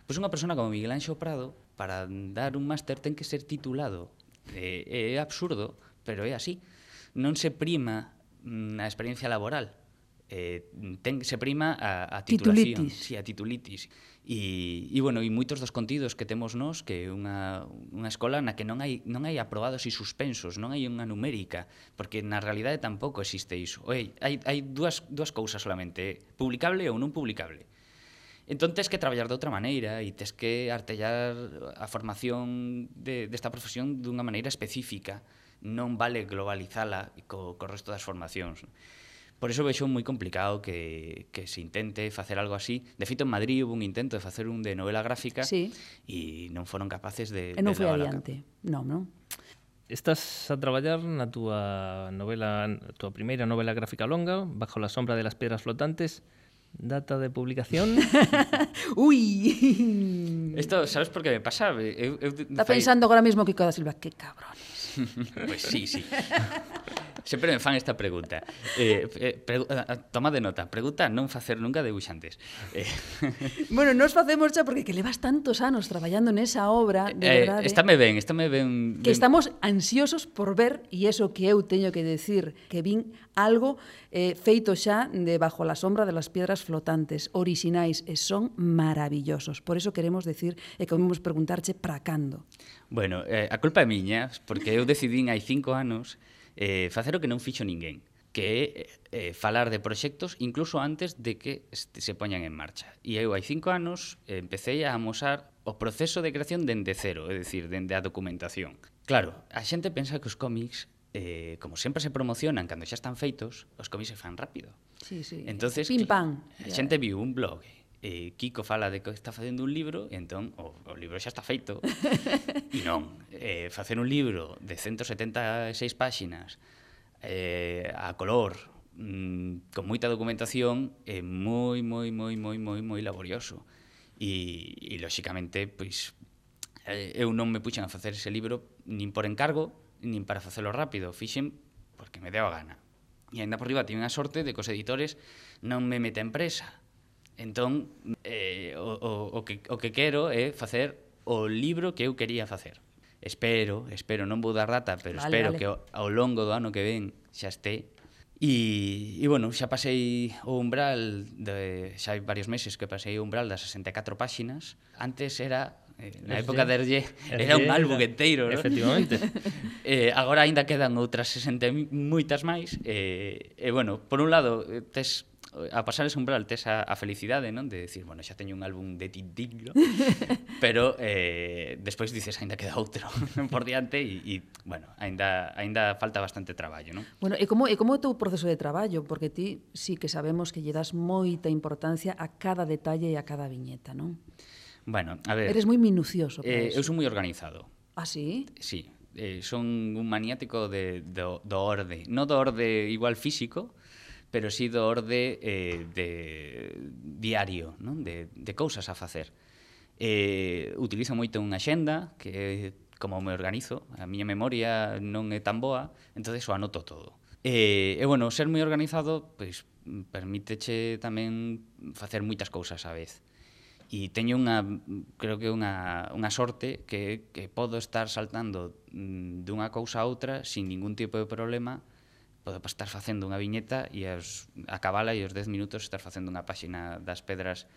pois unha persona como Miguel Anxo Prado, para dar un máster ten que ser titulado. É, é absurdo, pero é así. Non se prima mm, a experiencia laboral, eh, ten, se prima a, a titulación. Titulitis. Sí, a titulitis. E, e, bueno, e moitos dos contidos que temos nós, que é unha, unha escola na que non hai, non hai aprobados e suspensos, non hai unha numérica, porque na realidade tampouco existe iso. Oi, hai, hai dúas, dúas cousas solamente, publicable ou non publicable. Entón, tes que traballar de outra maneira e tes que artellar a formación de, desta profesión dunha maneira específica. Non vale globalizala co, co resto das formacións. Por iso vexo moi complicado que, que se intente facer algo así. De feito, en Madrid hubo un intento de facer un de novela gráfica Sí. e non foron capaces de, E non de foi levar a adiante. Non, non. Estás a traballar na túa novela, a túa primeira novela gráfica longa, Bajo la sombra de las piedras flotantes. Data de publicación? Ui! Isto, sabes por que me pasa? Eu, eu, Está pensando agora mesmo Kiko da Silva, que cabrones. Pois pues sí, sí. Sempre me fan esta pregunta. Eh, eh, pregu toma de nota. Pregunta non facer nunca debuxantes. Eh, Bueno, nos facemos xa porque que levas tantos anos traballando nesa obra, de eh, verdade. estáme ben, estáme ben... Que ben- estamos ansiosos por ver, e iso que eu teño que decir, que vin algo eh, feito xa de Bajo la sombra de las piedras flotantes, orixinais, e son maravillosos. Por eso queremos decir, e queremos preguntarche para cando. Bueno, eh, a culpa é miña, porque eu decidín hai cinco anos eh, facer o que non fixo ninguén, que é eh, falar de proxectos incluso antes de que este, se poñan en marcha. E eu hai cinco anos eh, empecé a amosar o proceso de creación dende cero, é dicir, dende a documentación. Claro, a xente pensa que os cómics, eh, como sempre se promocionan cando xa están feitos, os cómics se fan rápido. Sí, sí. Entonces, Pim, pam. a xente viu un blog, eh, Kiko fala de que está facendo un libro, e entón o, o libro xa está feito. E non, eh, facer un libro de ciento setenta e seis páxinas eh, a color, mm, con moita documentación, é moi, moi, moi, moi, moi, moi laborioso. E, e lóxicamente, pois, eh, eu non me puxen a facer ese libro nin por encargo, nin para facelo rápido, fixen porque me deu a gana. E ainda por riba tive a sorte de que os editores non me meten presa. Entón, eh, o, o, o, que, o que quero é facer o libro que eu quería facer. Espero, espero, non vou dar data, pero Vale, espero vale. que ao, ao longo do ano que ven xa este. E, e bueno, xa pasei o umbral, de, xa hai varios meses que pasei o umbral das sesenta e catro páxinas. Antes era, eh, na Erlle. época de Erlle, era un álbum enteiro, ¿no? Efectivamente. Eh, agora aínda quedan outras sesenta e moitas máis. E, e bueno, por un lado, eh, tes a pasar ese umbral tes a, a felicidade, non? De decir, bueno, xa teño un álbum de Tintín, ¿no? Pero eh, despois dices, aínda queda outro por diante e, e bueno, aínda, aínda falta bastante traballo, non? Bueno, e como, e como é o teu proceso de traballo? Porque ti sí que sabemos que lle das moita importancia a cada detalle e a cada viñeta, non? Bueno, a ver, Eres moi minucioso para eh, eso. eu son moi organizado. Ah, sí? Sí, eh, son un maniático de, do, do orde. Non do orde igual físico, pero sí do orde eh, de diario, non? De, de cousas a facer. Eh, utilizo moito unha xenda, que é como me organizo, a miña memoria non é tan boa, entonces o anoto todo. E, e bueno, ser moi organizado, pois, permíteche tamén facer moitas cousas á vez. E teño unha, creo que unha, unha sorte que, que podo estar saltando mm, dunha cousa a outra sin ningún tipo de problema. Podo estar facendo unha viñeta e as, acabala e os dez minutos estar facendo unha páxina das pedras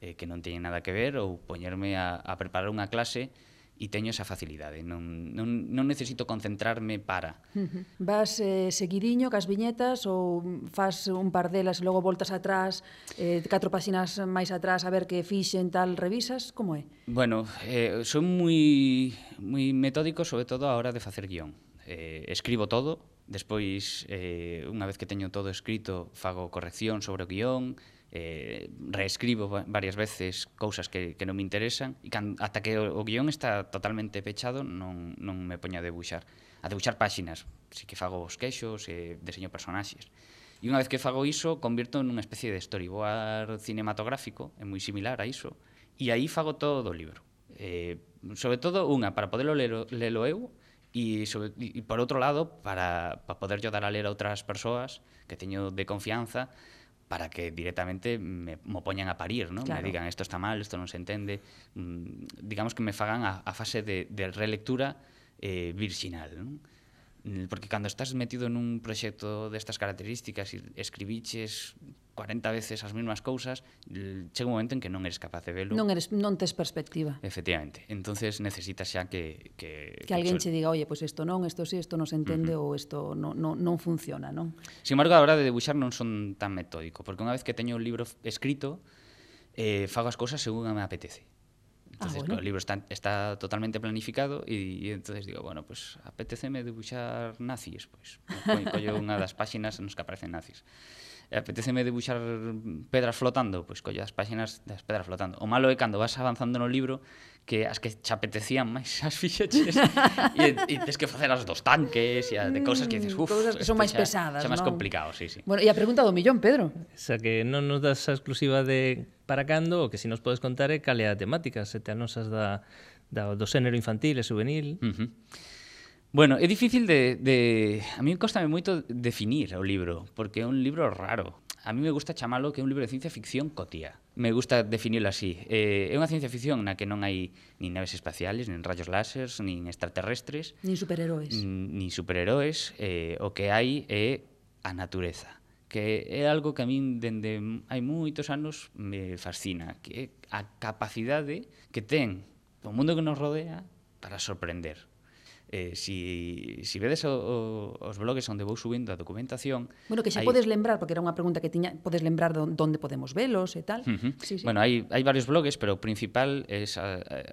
eh, que non teñen nada que ver, ou poñerme a, a preparar unha clase e teño esa facilidade. Non, non, non necesito concentrarme para. Uh-huh. Vas eh, seguidiño cas viñetas ou fas un par delas e logo voltas atrás, eh, catro páxinas máis atrás a ver que fixen tal, revisas? Como é? Bueno, eh, son moi, moi metódico, sobre todo a hora de facer guión. Eh, escribo todo, despois, eh, unha vez que teño todo escrito, fago corrección sobre o guión, eh, reescribo varias veces cousas que, que non me interesan, e can, ata que o, o guión está totalmente pechado, non, non me poño a debuxar. A debuxar páxinas, si que fago os queixos, e deseño personaxes. E unha vez que fago iso, convirto nunha especie de storyboard cinematográfico, é moi similar a iso, e aí fago todo o libro. Eh, sobre todo, unha, para poderlo lelo, lelo eu, e, sobre, e por outro lado, para, para poder yo dar a ler a outras persoas que teño de confianza, para que directamente me, me poñan a parir, ¿no? Claro. Me digan, esto está mal, esto non se entende. Mm, digamos que me fagan a, a fase de, de relectura eh, virxinal, ¿no? Porque cando estás metido nun proxecto destas características e escribiches cuarenta veces as mesmas cousas, chega un momento en que non eres capaz de velo. Non, eres, non tes perspectiva. Efectivamente. Entonces necesitas xa que... Que, Que alguén que che diga, oye, pois pues isto non, isto sí, isto non se entende, uh-huh. ou isto non, non, non funciona, non? Sin embargo, a hora de debuxar non son tan metódico, porque unha vez que teño o libro escrito, eh, fago as cousas según me apetece. Entonces, Ah, bueno. el libro está, está totalmente planificado y, y entonces digo, bueno, pues apeteceme debuxar nazis, pues collo unha das páxinas nos que aparecen nazis. e apetéceme debuxar pedras flotando, pois collo as páxinas das pedras flotando. O malo é cando vas avanzando no libro que as que che apetecían máis as fixeches e, e tens que facer as dos tanques e as de cousas que dices, uf, Cousas que son isto máis xa- pesadas, xa máis non? complicado, sí, sí. Bueno, e a pregunta do millón, Pedro. O sea que non nos das a exclusiva de para cando, o que si nos podes contar é cal é a temática, se te anosas da, da, do xénero infantil e juvenil. Uh -huh. Bueno, é difícil de, de... A mí costame moito definir o libro, porque é un libro raro. A mí me gusta chamalo que é un libro de ciencia ficción cotía. Me gusta definirlo así. Eh, é unha ciencia ficción na que non hai nin naves espaciales, nin rayos láseres, nin extraterrestres, Nin superheróis. nin nin superheróis. Eh, o que hai é a natureza, que é algo que a min dende hai moitos anos me fascina, que é a capacidade que ten o mundo que nos rodea para sorprender. Eh, si, si vedes o, o, os blogs onde vou subindo a documentación... Bueno, que xa hai- podes lembrar, porque era unha pregunta que tiña, podes lembrar de onde podemos velos e tal. Uh -huh. Sí, sí. Bueno, hai, hai varios blogs, pero o principal é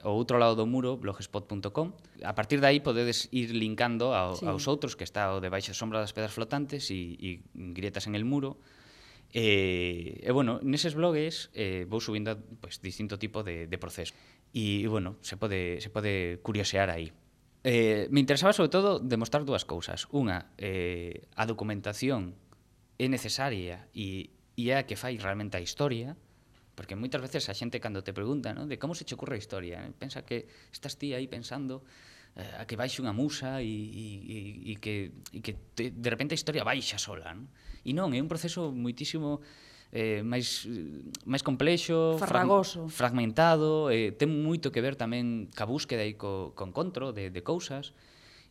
o outro lado do muro, blogspot punto com. A partir de aí podedes ir linkando ao, Sí. aos outros, que está o debaixo da sombra das pedras flotantes e, e grietas en el muro. E, e bueno, neses blogs eh, vou subindo pues, distinto tipo de, de proceso. E, bueno, se pode, se pode curiosear aí. Eh, me interesaba sobre todo demostrar dúas cousas. Unha, eh, a documentación é necesaria e, e é a que fai realmente a historia, porque moitas veces a xente cando te pregunta, ¿no? De como se che ocurre a historia, eh? Pensa que estás ti aí pensando eh, a que baixe unha musa e, e, e que, e que te, de repente a historia baixa sola, ¿no? E non, é un proceso moitísimo eh, máis, máis complexo, Farragoso. Frag, fragmentado, eh, ten moito que ver tamén ca búsqueda e co, co encontro de, de cousas.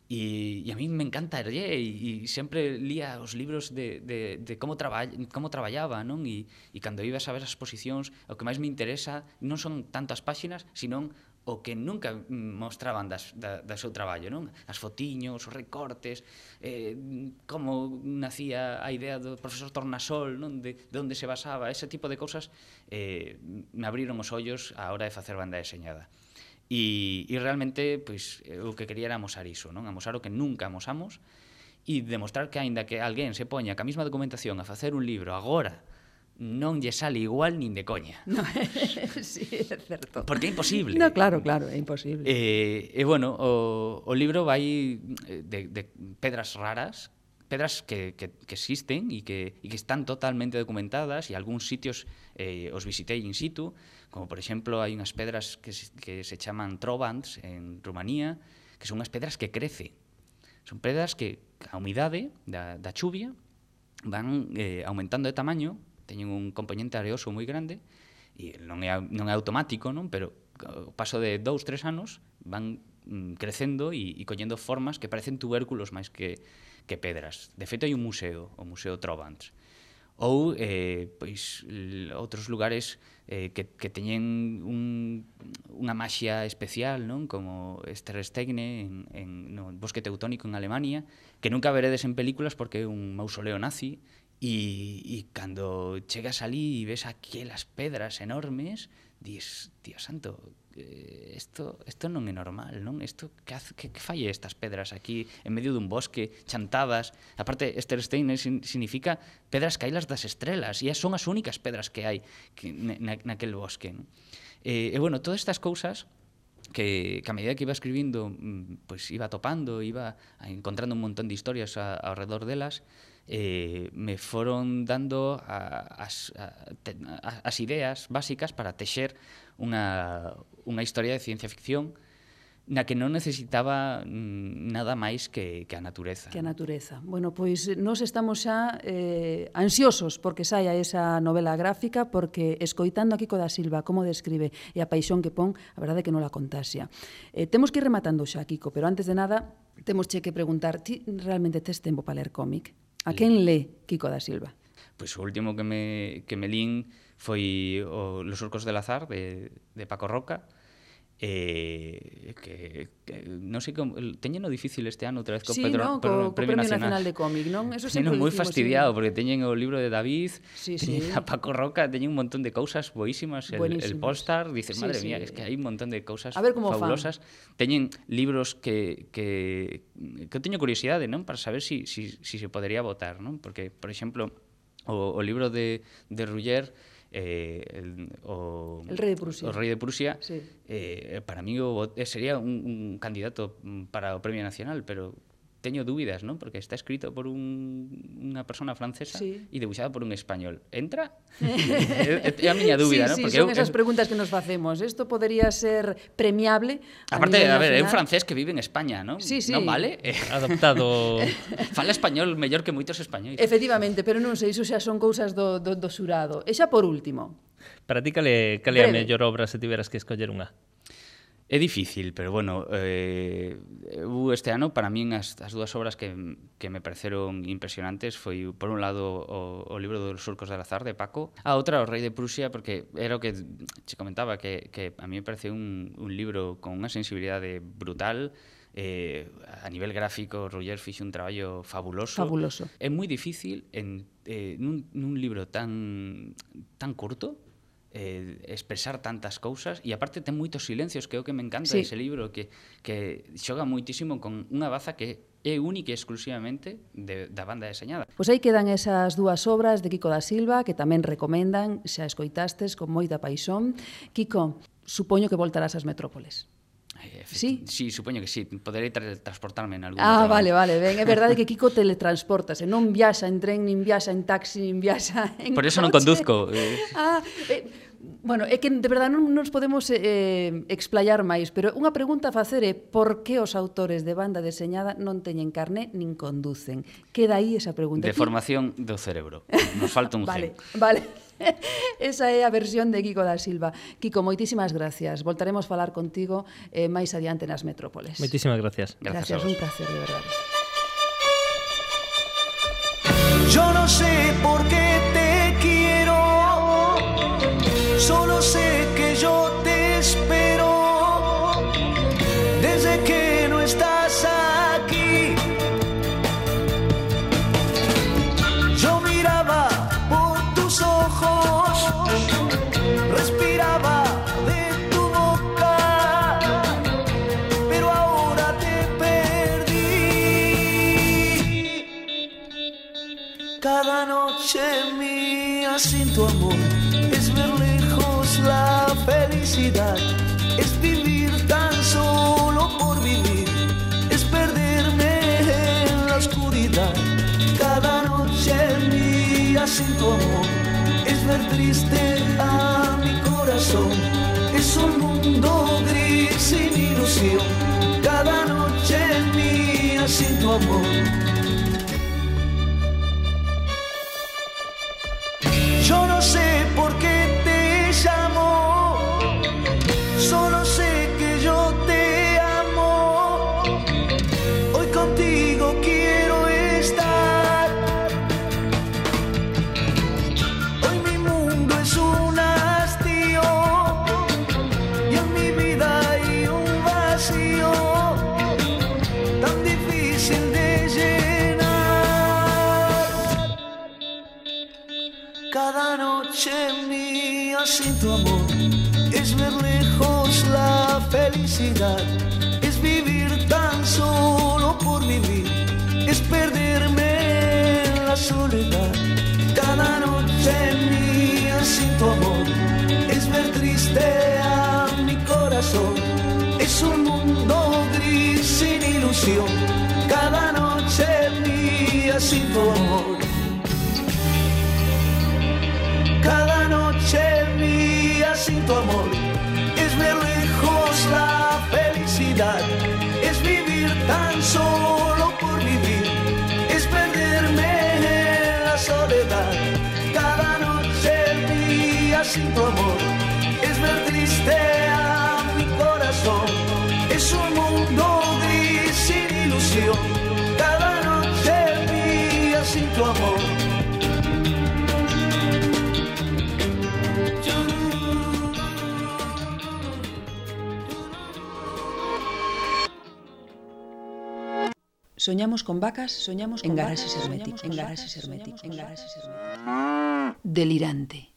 E, e a mí me encanta ler e, e sempre lía os libros de, de, de como, traball, como traballaba, non? E, e cando ibas a ver as exposicións, o que máis me interesa non son tanto as páxinas, sino o que nunca mostraban das, da, da seu traballo, non? As fotiños, os recortes, eh, como nacía a idea do profesor Tornasol, non? De, de onde se basaba, ese tipo de cousas eh, me abriron os ollos á hora de facer banda deseñada. E, e realmente, pois, o que quería era amosar iso, non? Amosar o que nunca amosamos e demostrar que, aínda que alguén se poña ca mesma documentación a facer un libro agora, non lle sale igual nin de coña. No, sí, é certo. Porque é imposible. No, claro, claro, é imposible. E, e bueno, o, o libro vai de, de pedras raras, pedras que, que, que existen e que, e que están totalmente documentadas, e algúns sitios eh, os visitei in situ, como por exemplo hai unhas pedras que se, que se chaman trobants en Rumanía, que son unhas pedras que crecen. Son pedras que a humidade da, da chuvia van eh, aumentando de tamaño, teñen un componente areoso moi grande, e non é, non é automático, non? Pero ao paso de dous, tres anos van mm, crecendo e, e collendo formas que parecen tubérculos máis que, que pedras. De feito, hai un museo, o Museo Trobants. Ou, eh, pois, l- outros lugares eh, que, que teñen un, unha maxia especial, non? Como Stersteine en, en, no Bosque Teutónico en Alemania, que nunca veredes en películas porque é un mausoleo nazi, e, e cando chegas ali e ves aquelas pedras enormes, dis, Dios santo, eh, esto, esto non é normal, non? Esto, que, hace, que, que fai estas pedras aquí en medio dun bosque, chantadas? Aparte, Stersteine sin, significa pedras caídas das estrelas, e son as únicas pedras que hai que, na, naquel bosque, non? E, e, bueno, todas estas cousas que, que a medida que iba escribindo, pues iba topando, iba encontrando un montón de historias a, ao redor delas, eh, me foron dando a, as, a, te, a, as ideas básicas para texer unha, unha historia de ciencia ficción na que non necesitaba mm, nada máis que, que a natureza. Que a natureza. Bueno, pois nós estamos xa eh, ansiosos porque saia esa novela gráfica, porque escoitando a Quico da Silva como describe e a paixón que pon, a verdade é que non la contaxia. Eh, temos que ir rematando xa, Quico, pero antes de nada temos che que preguntar, ti realmente tes tempo para ler cómic? A quen lé Quico da Silva? Pois o último que me, que me lín foi o Los Surcos del Azar de, de Paco Roca, eh, que, que non sei como teñeno difícil este ano outra vez co Sí, Pedro, no, Pedro, co, co Premio Nacional de Cómic, non? Eso sempre teñeno moi dicimos, fastidiado sí. porque teñen o libro de David, Sí, teñen sí. a Paco Roca, teñen un montón de cousas boísimas, el, el Buenísimas. Postar, dices, Sí, madre sí. mía, es que hai un montón de cousas A ver como fan. fabulosas. Teñen libros que, que, que eu teño curiosidade, non? Para saber si, si, si se podería votar, non? Porque, por exemplo, o, o libro de, de Ruller, eh, el, o, El rei de Prusia. o rei de Prusia, Sí. eh, para mí o, sería un, un candidato para o Premio Nacional, pero teño dúbidas, non? Porque está escrito por un, unha persona francesa Sí. e debuxado por un español. Entra? é, é a miña dúbida, sí, non? sí, Porque son eu, esas eu, preguntas que nos facemos. Isto podería ser premiable a aparte, nivel a ver, é un nacional? francés que vive en España, non? Sí, sí. Non vale? Eh, Adoptado... fala español mellor que moitos españois. Efectivamente, pero non sei, iso xa son cousas do, do, do xurado. E xa por último, Para ti, cale, cale a Breve. mellor obra se tiveras que escoller unha? É difícil, pero bueno, eh, eu este ano, para min, as, as dúas obras que, que me pareceron impresionantes foi, por un lado, o, o libro dos surcos del azar, de Paco, a outra, o Rei de Prusia, porque era o que che comentaba, que, que a mí me parece un, un libro con unha sensibilidade brutal, eh, a nivel gráfico, Ruller fixe un traballo fabuloso. fabuloso. É moi difícil, en, eh, nun, nun libro tan, tan curto, eh, expresar tantas cousas, e aparte ten moitos silencios, que é o que me encanta Sí. dese libro, que, que xoga moitísimo con unha baza que é única e exclusivamente de, da banda deseñada. Pois aí quedan esas dúas obras de Quico da Silva que tamén recomendan, xa escoitastes con moita paixón. Quico, supoño que voltarás ás metrópoles. Eh, Sí? Sí, supoño que sí. Poderei transportarme en algún Ah, outro vale, momento. vale, ben. É verdade que Quico teletransportase, non viaxa en tren, nin viaxa en taxi, nin viaxa en Por eso non coche. conduzco. Eh. Ah, eh, bueno, é que de verdade non nos podemos eh, explayar máis, pero unha pregunta a facer é por que os autores de banda deseñada non teñen carné nin conducen? Queda aí esa pregunta. De Aquí- formación do cerebro. Nos falta un Vale, gen. vale. Esa é a versión de Quico da Silva. Quico, moitísimas gracias. Voltaremos a falar contigo eh, máis adiante nas metrópoles. Moitísimas gracias. Gracias a un vos. placer, de verdade. Yo no sé por qué te quiero, solo sé que yo te espero desde que no estás aquí. Yo miraba por tus ojos, respiraba de tu boca, pero ahora te perdí. Cada noche mía sin tu amor es ver lejos la felicidad, es vivir tan solo por vivir, es perderme en la oscuridad. Cada noche mía sin tu amor es ver triste a mi corazón, es un mundo gris sin ilusión. Cada noche mía sin tu amor. Yo no sé por qué te llamo, solo sé que yo te amo. Hoy contigo quiero estar. Hoy mi mundo es un hastío y en mi vida hay un vacío tan difícil de llenar. Cada noche mía sin tu amor es ver lejos la felicidad, es vivir tan solo por vivir, es perderme en la soledad. Cada noche mía sin tu amor es ver triste a mi corazón, es un mundo gris sin ilusión. Cada noche mía sin tu amor. Cada noche mía sin tu amor es ver lejos la felicidad, es vivir tan solo por vivir, es perderme en la soledad. Cada noche mía sin tu amor es ver triste a mi corazón, es un mundo gris sin ilusión. Cada noche mía sin tu amor. Soñamos con vacas, soñamos con en garaxes herméticos, en garaxes herméticos, en garaxes herméticos. Delirante.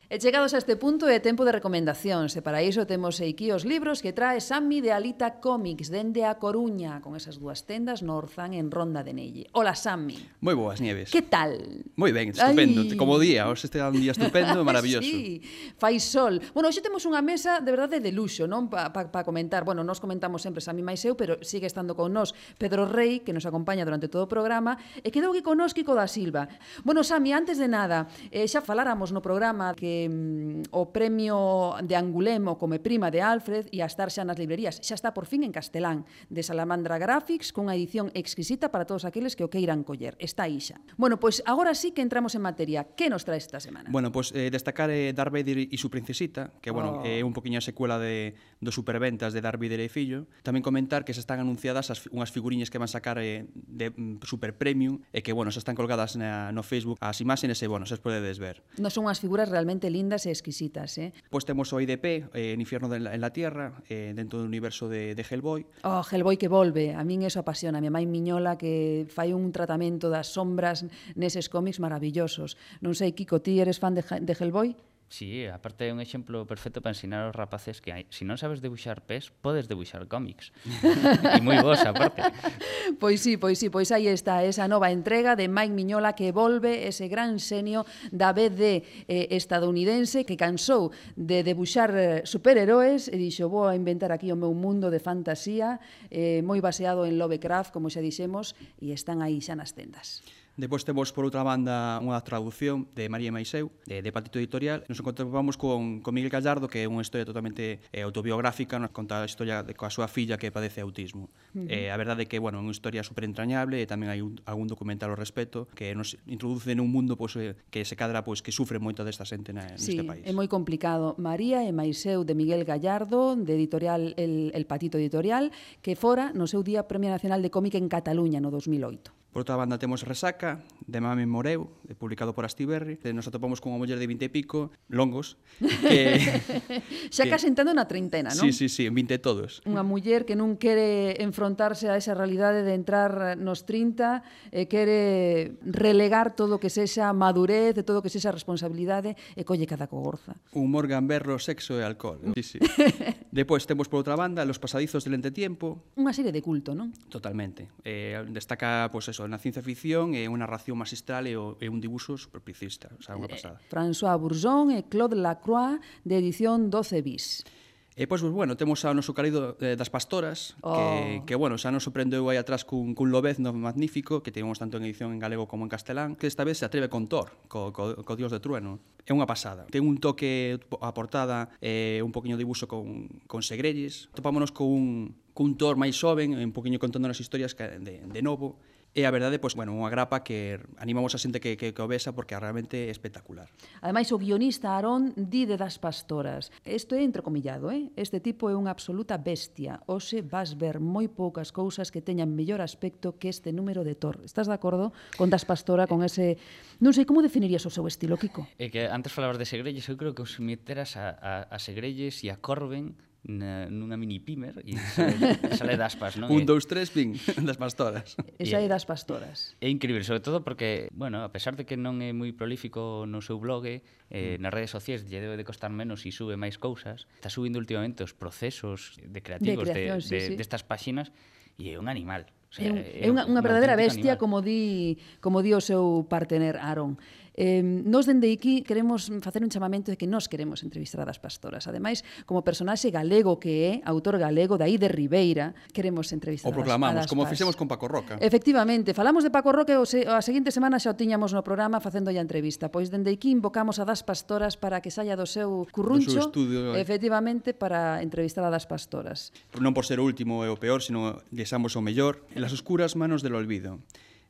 E chegados a este punto é tempo de recomendacións, e para iso temos aquí os libros que trae Sammy de Alita Comics, dende a Coruña, con esas dúas tendas no Orzán en Ronda de Nelle. Ola, Sammy. Moi boas, Nieves. Que tal? Moi ben, estupendo. Ai. Como o día, hoxe este é un día estupendo e maravilloso. Sí, fai sol. Bueno, hoxe temos unha mesa de verdade de luxo, non? Para pa, pa comentar. Bueno, nos comentamos sempre Sammy máis eu, pero sigue estando con nós Pedro Rey, que nos acompaña durante todo o programa, e quedou aquí con nós Kiko da Silva. Bueno, Sammy, antes de nada, eh, xa faláramos no programa que mm, o premio de Angulemo come prima de Alfred e a estar xa nas librerías. Xa está por fin en castelán, de Salamandra Graphics, cunha edición exquisita para todos aqueles que o queiran coller. Está aí xa. Bueno, pois agora sí que entramos en materia. Que nos trae esta semana? Bueno, pois eh, destacar eh, Darth Vader e su princesita, que bueno, Oh. é un poquinho a secuela de dos superventas de Darth Vader e fillo. Tamén comentar que se están anunciadas as, unhas figuriñas que van sacar eh, de mm, super premium e que, bueno, se están colgadas na, no Facebook as imaxes e, bueno, se podedes ver. Non son unhas figuras realmente lindas e exquisitas, eh? Pois temos o I D P, eh, en Infierno de la, en la Tierra, eh, dentro do universo de, de Hellboy. Oh, Hellboy que volve, a min eso apasiona. A mi mãe Miñola que fai un tratamento das sombras neses cómics maravillosos. Non sei, Kiko, ti eres fan de, de Hellboy? Sí, aparte é un exemplo perfecto para ensinar aos rapaces que hai, se non sabes debuxar pés, podes debuxar cómics. E moi vos, aparte. Pois sí, pois sí, pois aí está esa nova entrega de Mike Miñola que volve ese gran xenio da B D eh, estadounidense que cansou de debuxar eh, superheróis e dixo, vou a inventar aquí o meu mundo de fantasía eh, moi baseado en Lovecraft, como xa dixemos, e están aí xa nas tendas. Depois temos, por outra banda, unha traducción de María Maiseu, de, de Patito Editorial. Nos encontramos con, con Miguel Gallardo, que é unha historia totalmente eh, autobiográfica, nos conta a historia de, coa súa filla que padece autismo. Uh-huh. eh, a verdade é que, bueno, é unha historia super entrañable e tamén hai un, algún documental ao respecto que nos introduce nun mundo pues, eh, que se cadra pues, que sufre moito desta xente na, sí, neste país. É moi complicado. María e Maiseu de Miguel Gallardo, de editorial El, El Patito Editorial, que fora no seu Día Premio Nacional de Cómic en Cataluña no dos mil oito. Por outra banda temos Resaca, de Mame Moreu, publicado por Astiberri. Nos atopamos con unha muller de vinte e pico, longos, que... Xa que... casi entrando na treintena, non? Sí, sí, sí, en vinte todos. Unha muller que non quere enfrontarse a esa realidade de entrar nos trinta, e quere relegar todo o que sexa madurez, todo o que sexa responsabilidade, e colle cada cogorza. Humor, gamberro, sexo e alcohol. Sí, sí. Depois temos por outra banda Los pasadizos del entretiempo. Unha serie de culto, non? Totalmente. Eh, destaca, pois, pues, eso, na ciencia ficción e unha narración magistral e, o, e un dibuixo superplicista, o sea, unha pasada. Eh, François Bourgeon e Claude Lacroix, de edición doce bis. E, pois, pues, bueno, temos ao noso querido eh, das Pastoras, oh. que, que, bueno, xa nos sorprendeu aí atrás cun, cun Lobezno magnífico, que temos tanto en edición en galego como en castelán, que esta vez se atreve con Thor, co, co, co Dios de Trueno. É unha pasada. Ten un toque a portada, eh, un poquinho de dibuixo con, con segrelles. Topámonos con un, cun Thor máis xoven, un poquinho contando as historias de, de novo. E a verdade, pois, bueno, unha grapa que animamos a xente que, que, que o vesa porque realmente é espectacular. Ademais, o guionista Aarón di de Das Pastoras. Isto é entrecomillado, eh? Este tipo é unha absoluta bestia. Hoxe vas ver moi poucas cousas que teñan mellor aspecto que este número de Thor. Estás de acordo con Das Pastora, con ese... Non sei, como definirías o seu estilo, Kiko? É que antes falabas de Segrelles, eu creo que os meteras a, a, a Segrelles e a Corben na, nunha mini pimer e sale, sale das pas, non? Un, dous, tres, ping, das Pastoras. Esa é Das Pastoras. É increíble, sobre todo porque, bueno, a pesar de que non é moi prolífico no seu blog, eh, nas redes sociais lle debe de costar menos e sube máis cousas, está subindo últimamente os procesos de creativos de, creación, de, sí, de, sí. destas páxinas e é un animal. O É, sea, un, é unha, unha verdadeira bestia, animal. como di, como di o seu partener Aarón. Eh, nos dende aquí queremos facer un chamamento de que nós queremos entrevistar a Das Pastoras. Ademais, como personaxe galego que é, autor galego, daí de Ribeira, queremos entrevistar O proclamamos, a Das, a das como Pas. fixemos con Paco Roca. Efectivamente, falamos de Paco Roque, o se, a seguinte semana xa o tiñamos no programa facendo a entrevista. Pois dende aquí invocamos a Das Pastoras para que saia do seu curruncho, Do seu estudio, eh. efectivamente, para entrevistar a Das Pastoras. Non por ser o último e o peor, sino desamos o mellor. En las oscuras manos del olvido.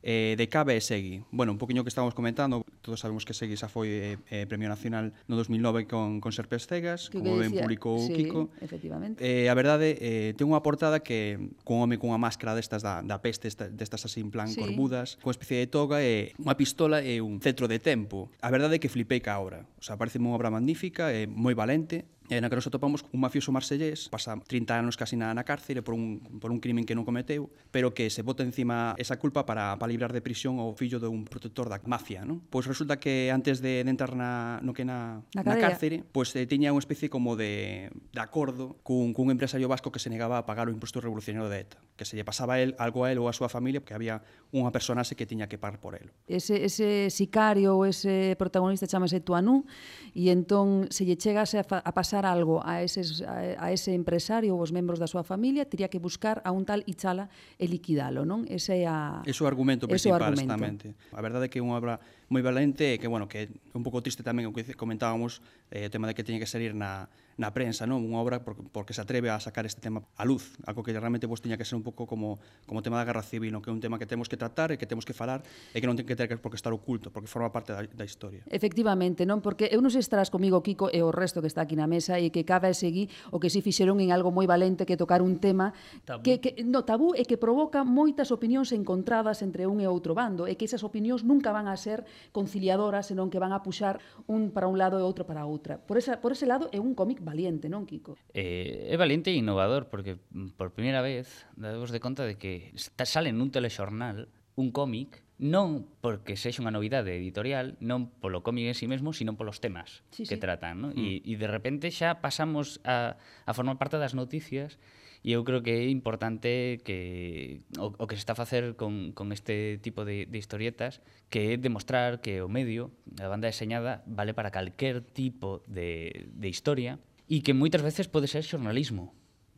Eh, de Cabe e Segui. Bueno, un poquinho que estábamos comentando, todos sabemos que Segui xa foi eh, eh, Premio Nacional no dos mil nove con, con Serpes Cegas, Que como que ben dicía- publicou sí, Kiko. efectivamente. Eh, a verdade, eh, ten unha portada que cun home cunha máscara destas da, da peste, esta, destas así en plan Sí. corbudas, cunha especie de toga e unha pistola e un cetro de tempo. A verdade é que flipei ca obra. O sea, parece unha obra magnífica, e moi valente, E na que nos atopamos un mafioso marsellés, pasa trinta anos casi na, na cárcere por un, por un crimen que non cometeu, pero que se bota encima esa culpa para, para librar de prisión ao fillo de un protector da mafia, non? Pois resulta que antes de, de entrar na, no que na, na, na cárcere, pois eh, tiña unha especie como de, de acordo cun, cun empresario vasco que se negaba a pagar o imposto revolucionario de ETA, que se lle pasaba a él, algo a él ou a súa familia, porque había unha personaxe que tiña que pagar por él. Ese, ese sicario ou ese protagonista chamase Tuanú, e entón se lle chegase a, a pasar algo a, eses, a, a ese empresario ou os membros da súa familia, teria que buscar a un tal Ichala e liquidalo, non? Ese é a... Ese é o argumento principal, argumento. exactamente. A verdade é que é unha obra moi valente e que, bueno, que é un pouco triste tamén o que comentábamos, eh, o tema de que teña que salir na, na prensa, non? Unha obra porque, porque se atreve a sacar este tema á luz, algo que realmente pues, tiña que ser un pouco como como o tema da guerra civil, non? Que é un tema que temos que tratar e que temos que falar e que non ten que ter por que estar oculto, porque forma parte da, da historia. Efectivamente, non? Porque eu non sei se estarás comigo, Kiko, e o resto que está aquí na mesa e que cada seguí o que si fixeron en algo moi valente que tocar un tema Tabú. que, que no tabú e que provoca moitas opinións encontradas entre un e outro bando e que esas opinións nunca van a ser conciliadoras, senón que van a puxar un para un lado e outro para outra. Por, esa, por ese lado é un cómic valiente, non, Kiko? Eh, é valiente e innovador, porque por primeira vez dadevos de conta de que está, sale nun telexornal un cómic non porque sexa unha novidade editorial, non polo cómic en sí mesmo, sino polos temas sí, que sí. tratan, ¿no? Mm. E, e de repente xa pasamos a, a formar parte das noticias e eu creo que é importante que o, o que se está a facer con, con este tipo de, de historietas, que é demostrar que o medio, a banda deseñada, vale para calquer tipo de, de historia e que moitas veces pode ser xornalismo.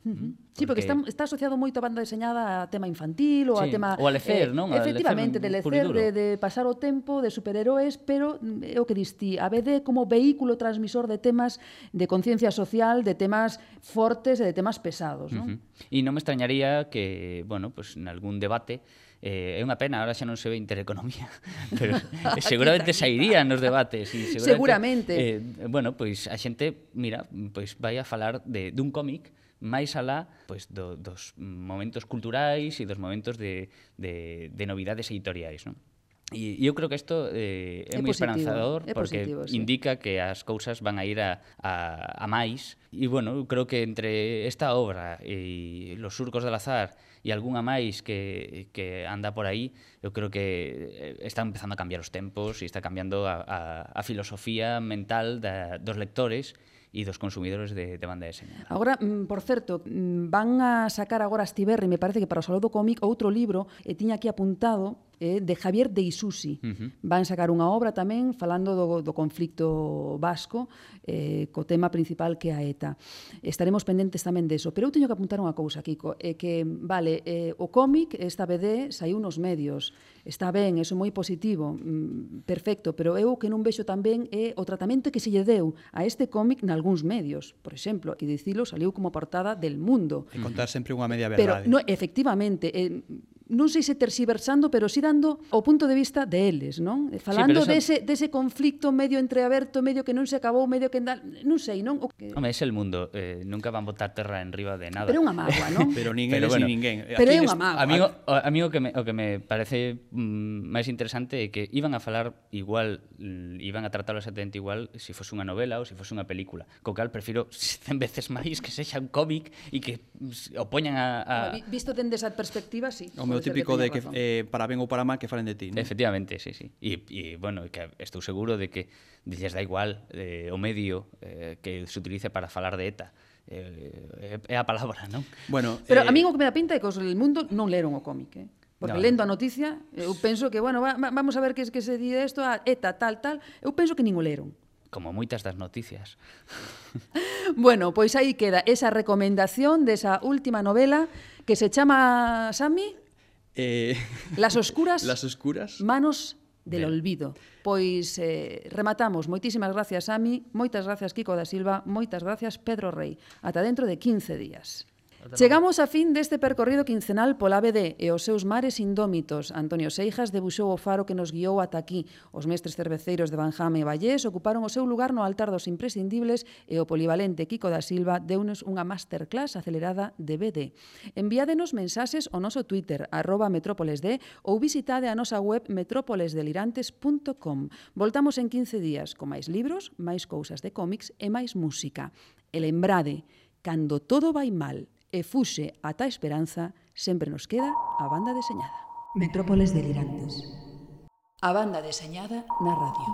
Uh-huh. Sí, porque está, está asociado moito a banda deseñada a tema infantil ou sí, a tema... ou a lecer, eh, non? Efectivamente, de lecer, de, de pasar o tempo, de superheróis, pero é o que distí, a B D como vehículo transmisor de temas de conciencia social, de temas fortes e de temas pesados, non? Uh-huh. E non me extrañaría que, bueno, pues, en algún debate Eh, é unha pena, ahora xa non se ve Intereconomía, pero eh, seguramente sairían nos debates e seguramente, seguramente. Eh, bueno, pois a xente, mira, pois vai a falar de dun cómic máis alá pois, do, dos momentos culturais e dos momentos de, de, de novidades editoriais, non? E eu creo que isto eh, é, é moi esperanzador é porque positivo, sí. indica que as cousas van a ir a, a, a máis e, bueno, eu creo que entre esta obra e Los surcos del azar e algunha máis que, que anda por aí, eu creo que está empezando a cambiar os tempos e está cambiando a, a, a filosofía mental da, dos lectores e dos consumidores de, de banda deseñada. Agora, por certo, van a sacar agora Astiberri, me parece que para o Salón do Cómic, outro libro, e tiña aquí apuntado, eh, de Javier de Isusi. Uh-huh. Van sacar unha obra tamén falando do, do conflicto vasco, eh, co tema principal que é a ETA. Estaremos pendentes tamén deso. Pero eu teño que apuntar unha cousa, Kiko, é que, vale, eh, o cómic, esta B D, saiu nos medios. Está ben, eso é moi positivo, mm, perfecto, pero eu que non vexo tamén é o tratamento que se lle deu a este cómic nalgúns medios. Por exemplo, aquí dicilo, saliu como portada del Mundo. E contar sempre unha media Pero, verdade. no, efectivamente, eh, non sei se tersiversando, pero si dando o punto de vista deles, non? Falando sí, dese, dese conflicto medio entreaberto, medio que non se acabou, medio que... Non sei, non? O que... Home, é el mundo, eh, nunca van botar terra en riba de nada. Pero é unha mágoa, non? Pero nin Pero eles bueno, nin ninguén. Pero é Aquí unha nes- mágoa. A mí, o, a mí o, que me, o que me parece mm, máis interesante é que iban a falar igual, mm, iban a tratarlo exactamente igual se si fose unha novela ou se si fose unha película. Co cal, prefiro cen veces máis que sexa un cómic e que mm, o poñan a... a... Visto dende esa perspectiva, sí. O meu pode ser típico de que teña razón. eh, para ben ou para mal que falen de ti, non? Efectivamente, sí, sí. E, e bueno, que estou seguro de que lles da igual eh, o medio eh, que se utilice para falar de ETA. Eh, é a palabra, non? Bueno, Pero eh, a mí o que me dá pinta é que os del Mundo non leron o cómic, eh? Porque No. lendo a noticia, eu penso que, bueno, va, va, vamos a ver que, que se di isto, a ETA, tal, tal, eu penso que nin o leron. Como moitas das noticias. Bueno, pois aí queda esa recomendación desa última novela que se chama, Sami, eh, Las oscuras Las oscuras. manos del Del. olvido. Pois eh, rematamos. Moitísimas gracias, Sami. Moitas gracias, Kiko da Silva. Moitas gracias, Pedro Rey. Ata dentro de quince días. Chegamos a fin deste percorrido quincenal pola B D e os seus mares indómitos. Antonio Seijas debuxou o faro que nos guiou ata aquí. Os mestres cerveceiros de Banjame e Vallés ocuparon o seu lugar no altar dos imprescindibles e o polivalente Kiko da Silva deunos unha masterclass acelerada de B D. Enviádenos mensaxes ao noso Twitter, arroba metrópolesd, ou visitade a nosa web metrópoles delirantes punto com. Voltamos en quince días con máis libros, máis cousas de cómics e máis música. E lembrade, cando todo vai mal e fuxe ata a esperanza, sempre nos queda a banda deseñada. Metrópoles delirantes. A banda deseñada na radio.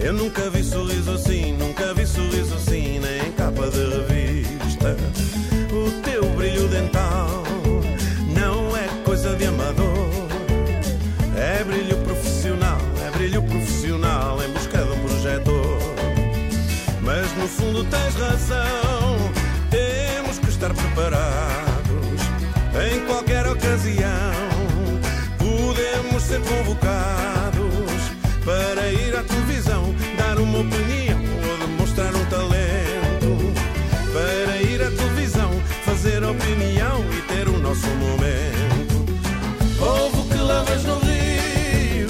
Eu nunca vi sorriso assim, nunca vi sorriso assim, nem em capa de revista. O teu brilho dental não é coisa de amador, é brilho profissional, é brilho profissional em busca de um projetor. Mas no fundo tens razão, temos que estar preparados. Em qualquer ocasião podemos ser convocados para ir à televisão, dar uma opinião ou demonstrar um talento. Para ir à televisão, fazer opinião e ter o nosso momento. Povo que lavas no rio,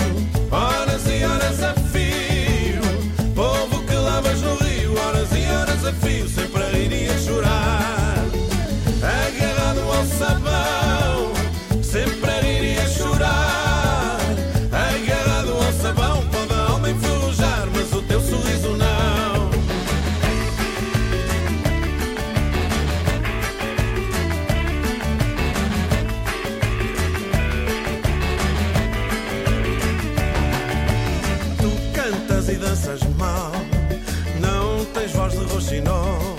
horas e horas a fio. Povo que lavas no rio, horas e horas a fio, sempre a rir e a chorar. Agarrado ao sabão, sempre a rir e a chorar. Agarrado ao sabão, pode a alma enferrujar, mas o teu sorriso não. Tu cantas e danças mal, não tens voz de roxinol,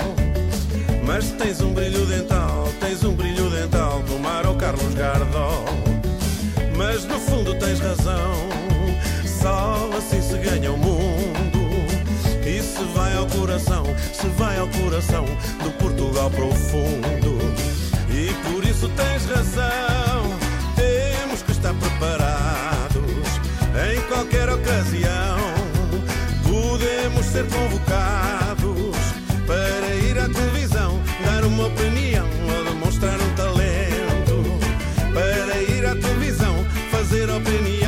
mas tens um brilho dental, tens um brilho dental do Mar ou Carlos Gardol. Mas no fundo tens razão, só assim se ganha o mundo. E se vai ao coração, se vai ao coração do Portugal profundo. E por isso tens razão, temos que estar preparados. Em qualquer ocasião podemos ser convocados para ir à televisão, dar uma opinião ou demonstrar um talento. Para ir à televisão, fazer opinião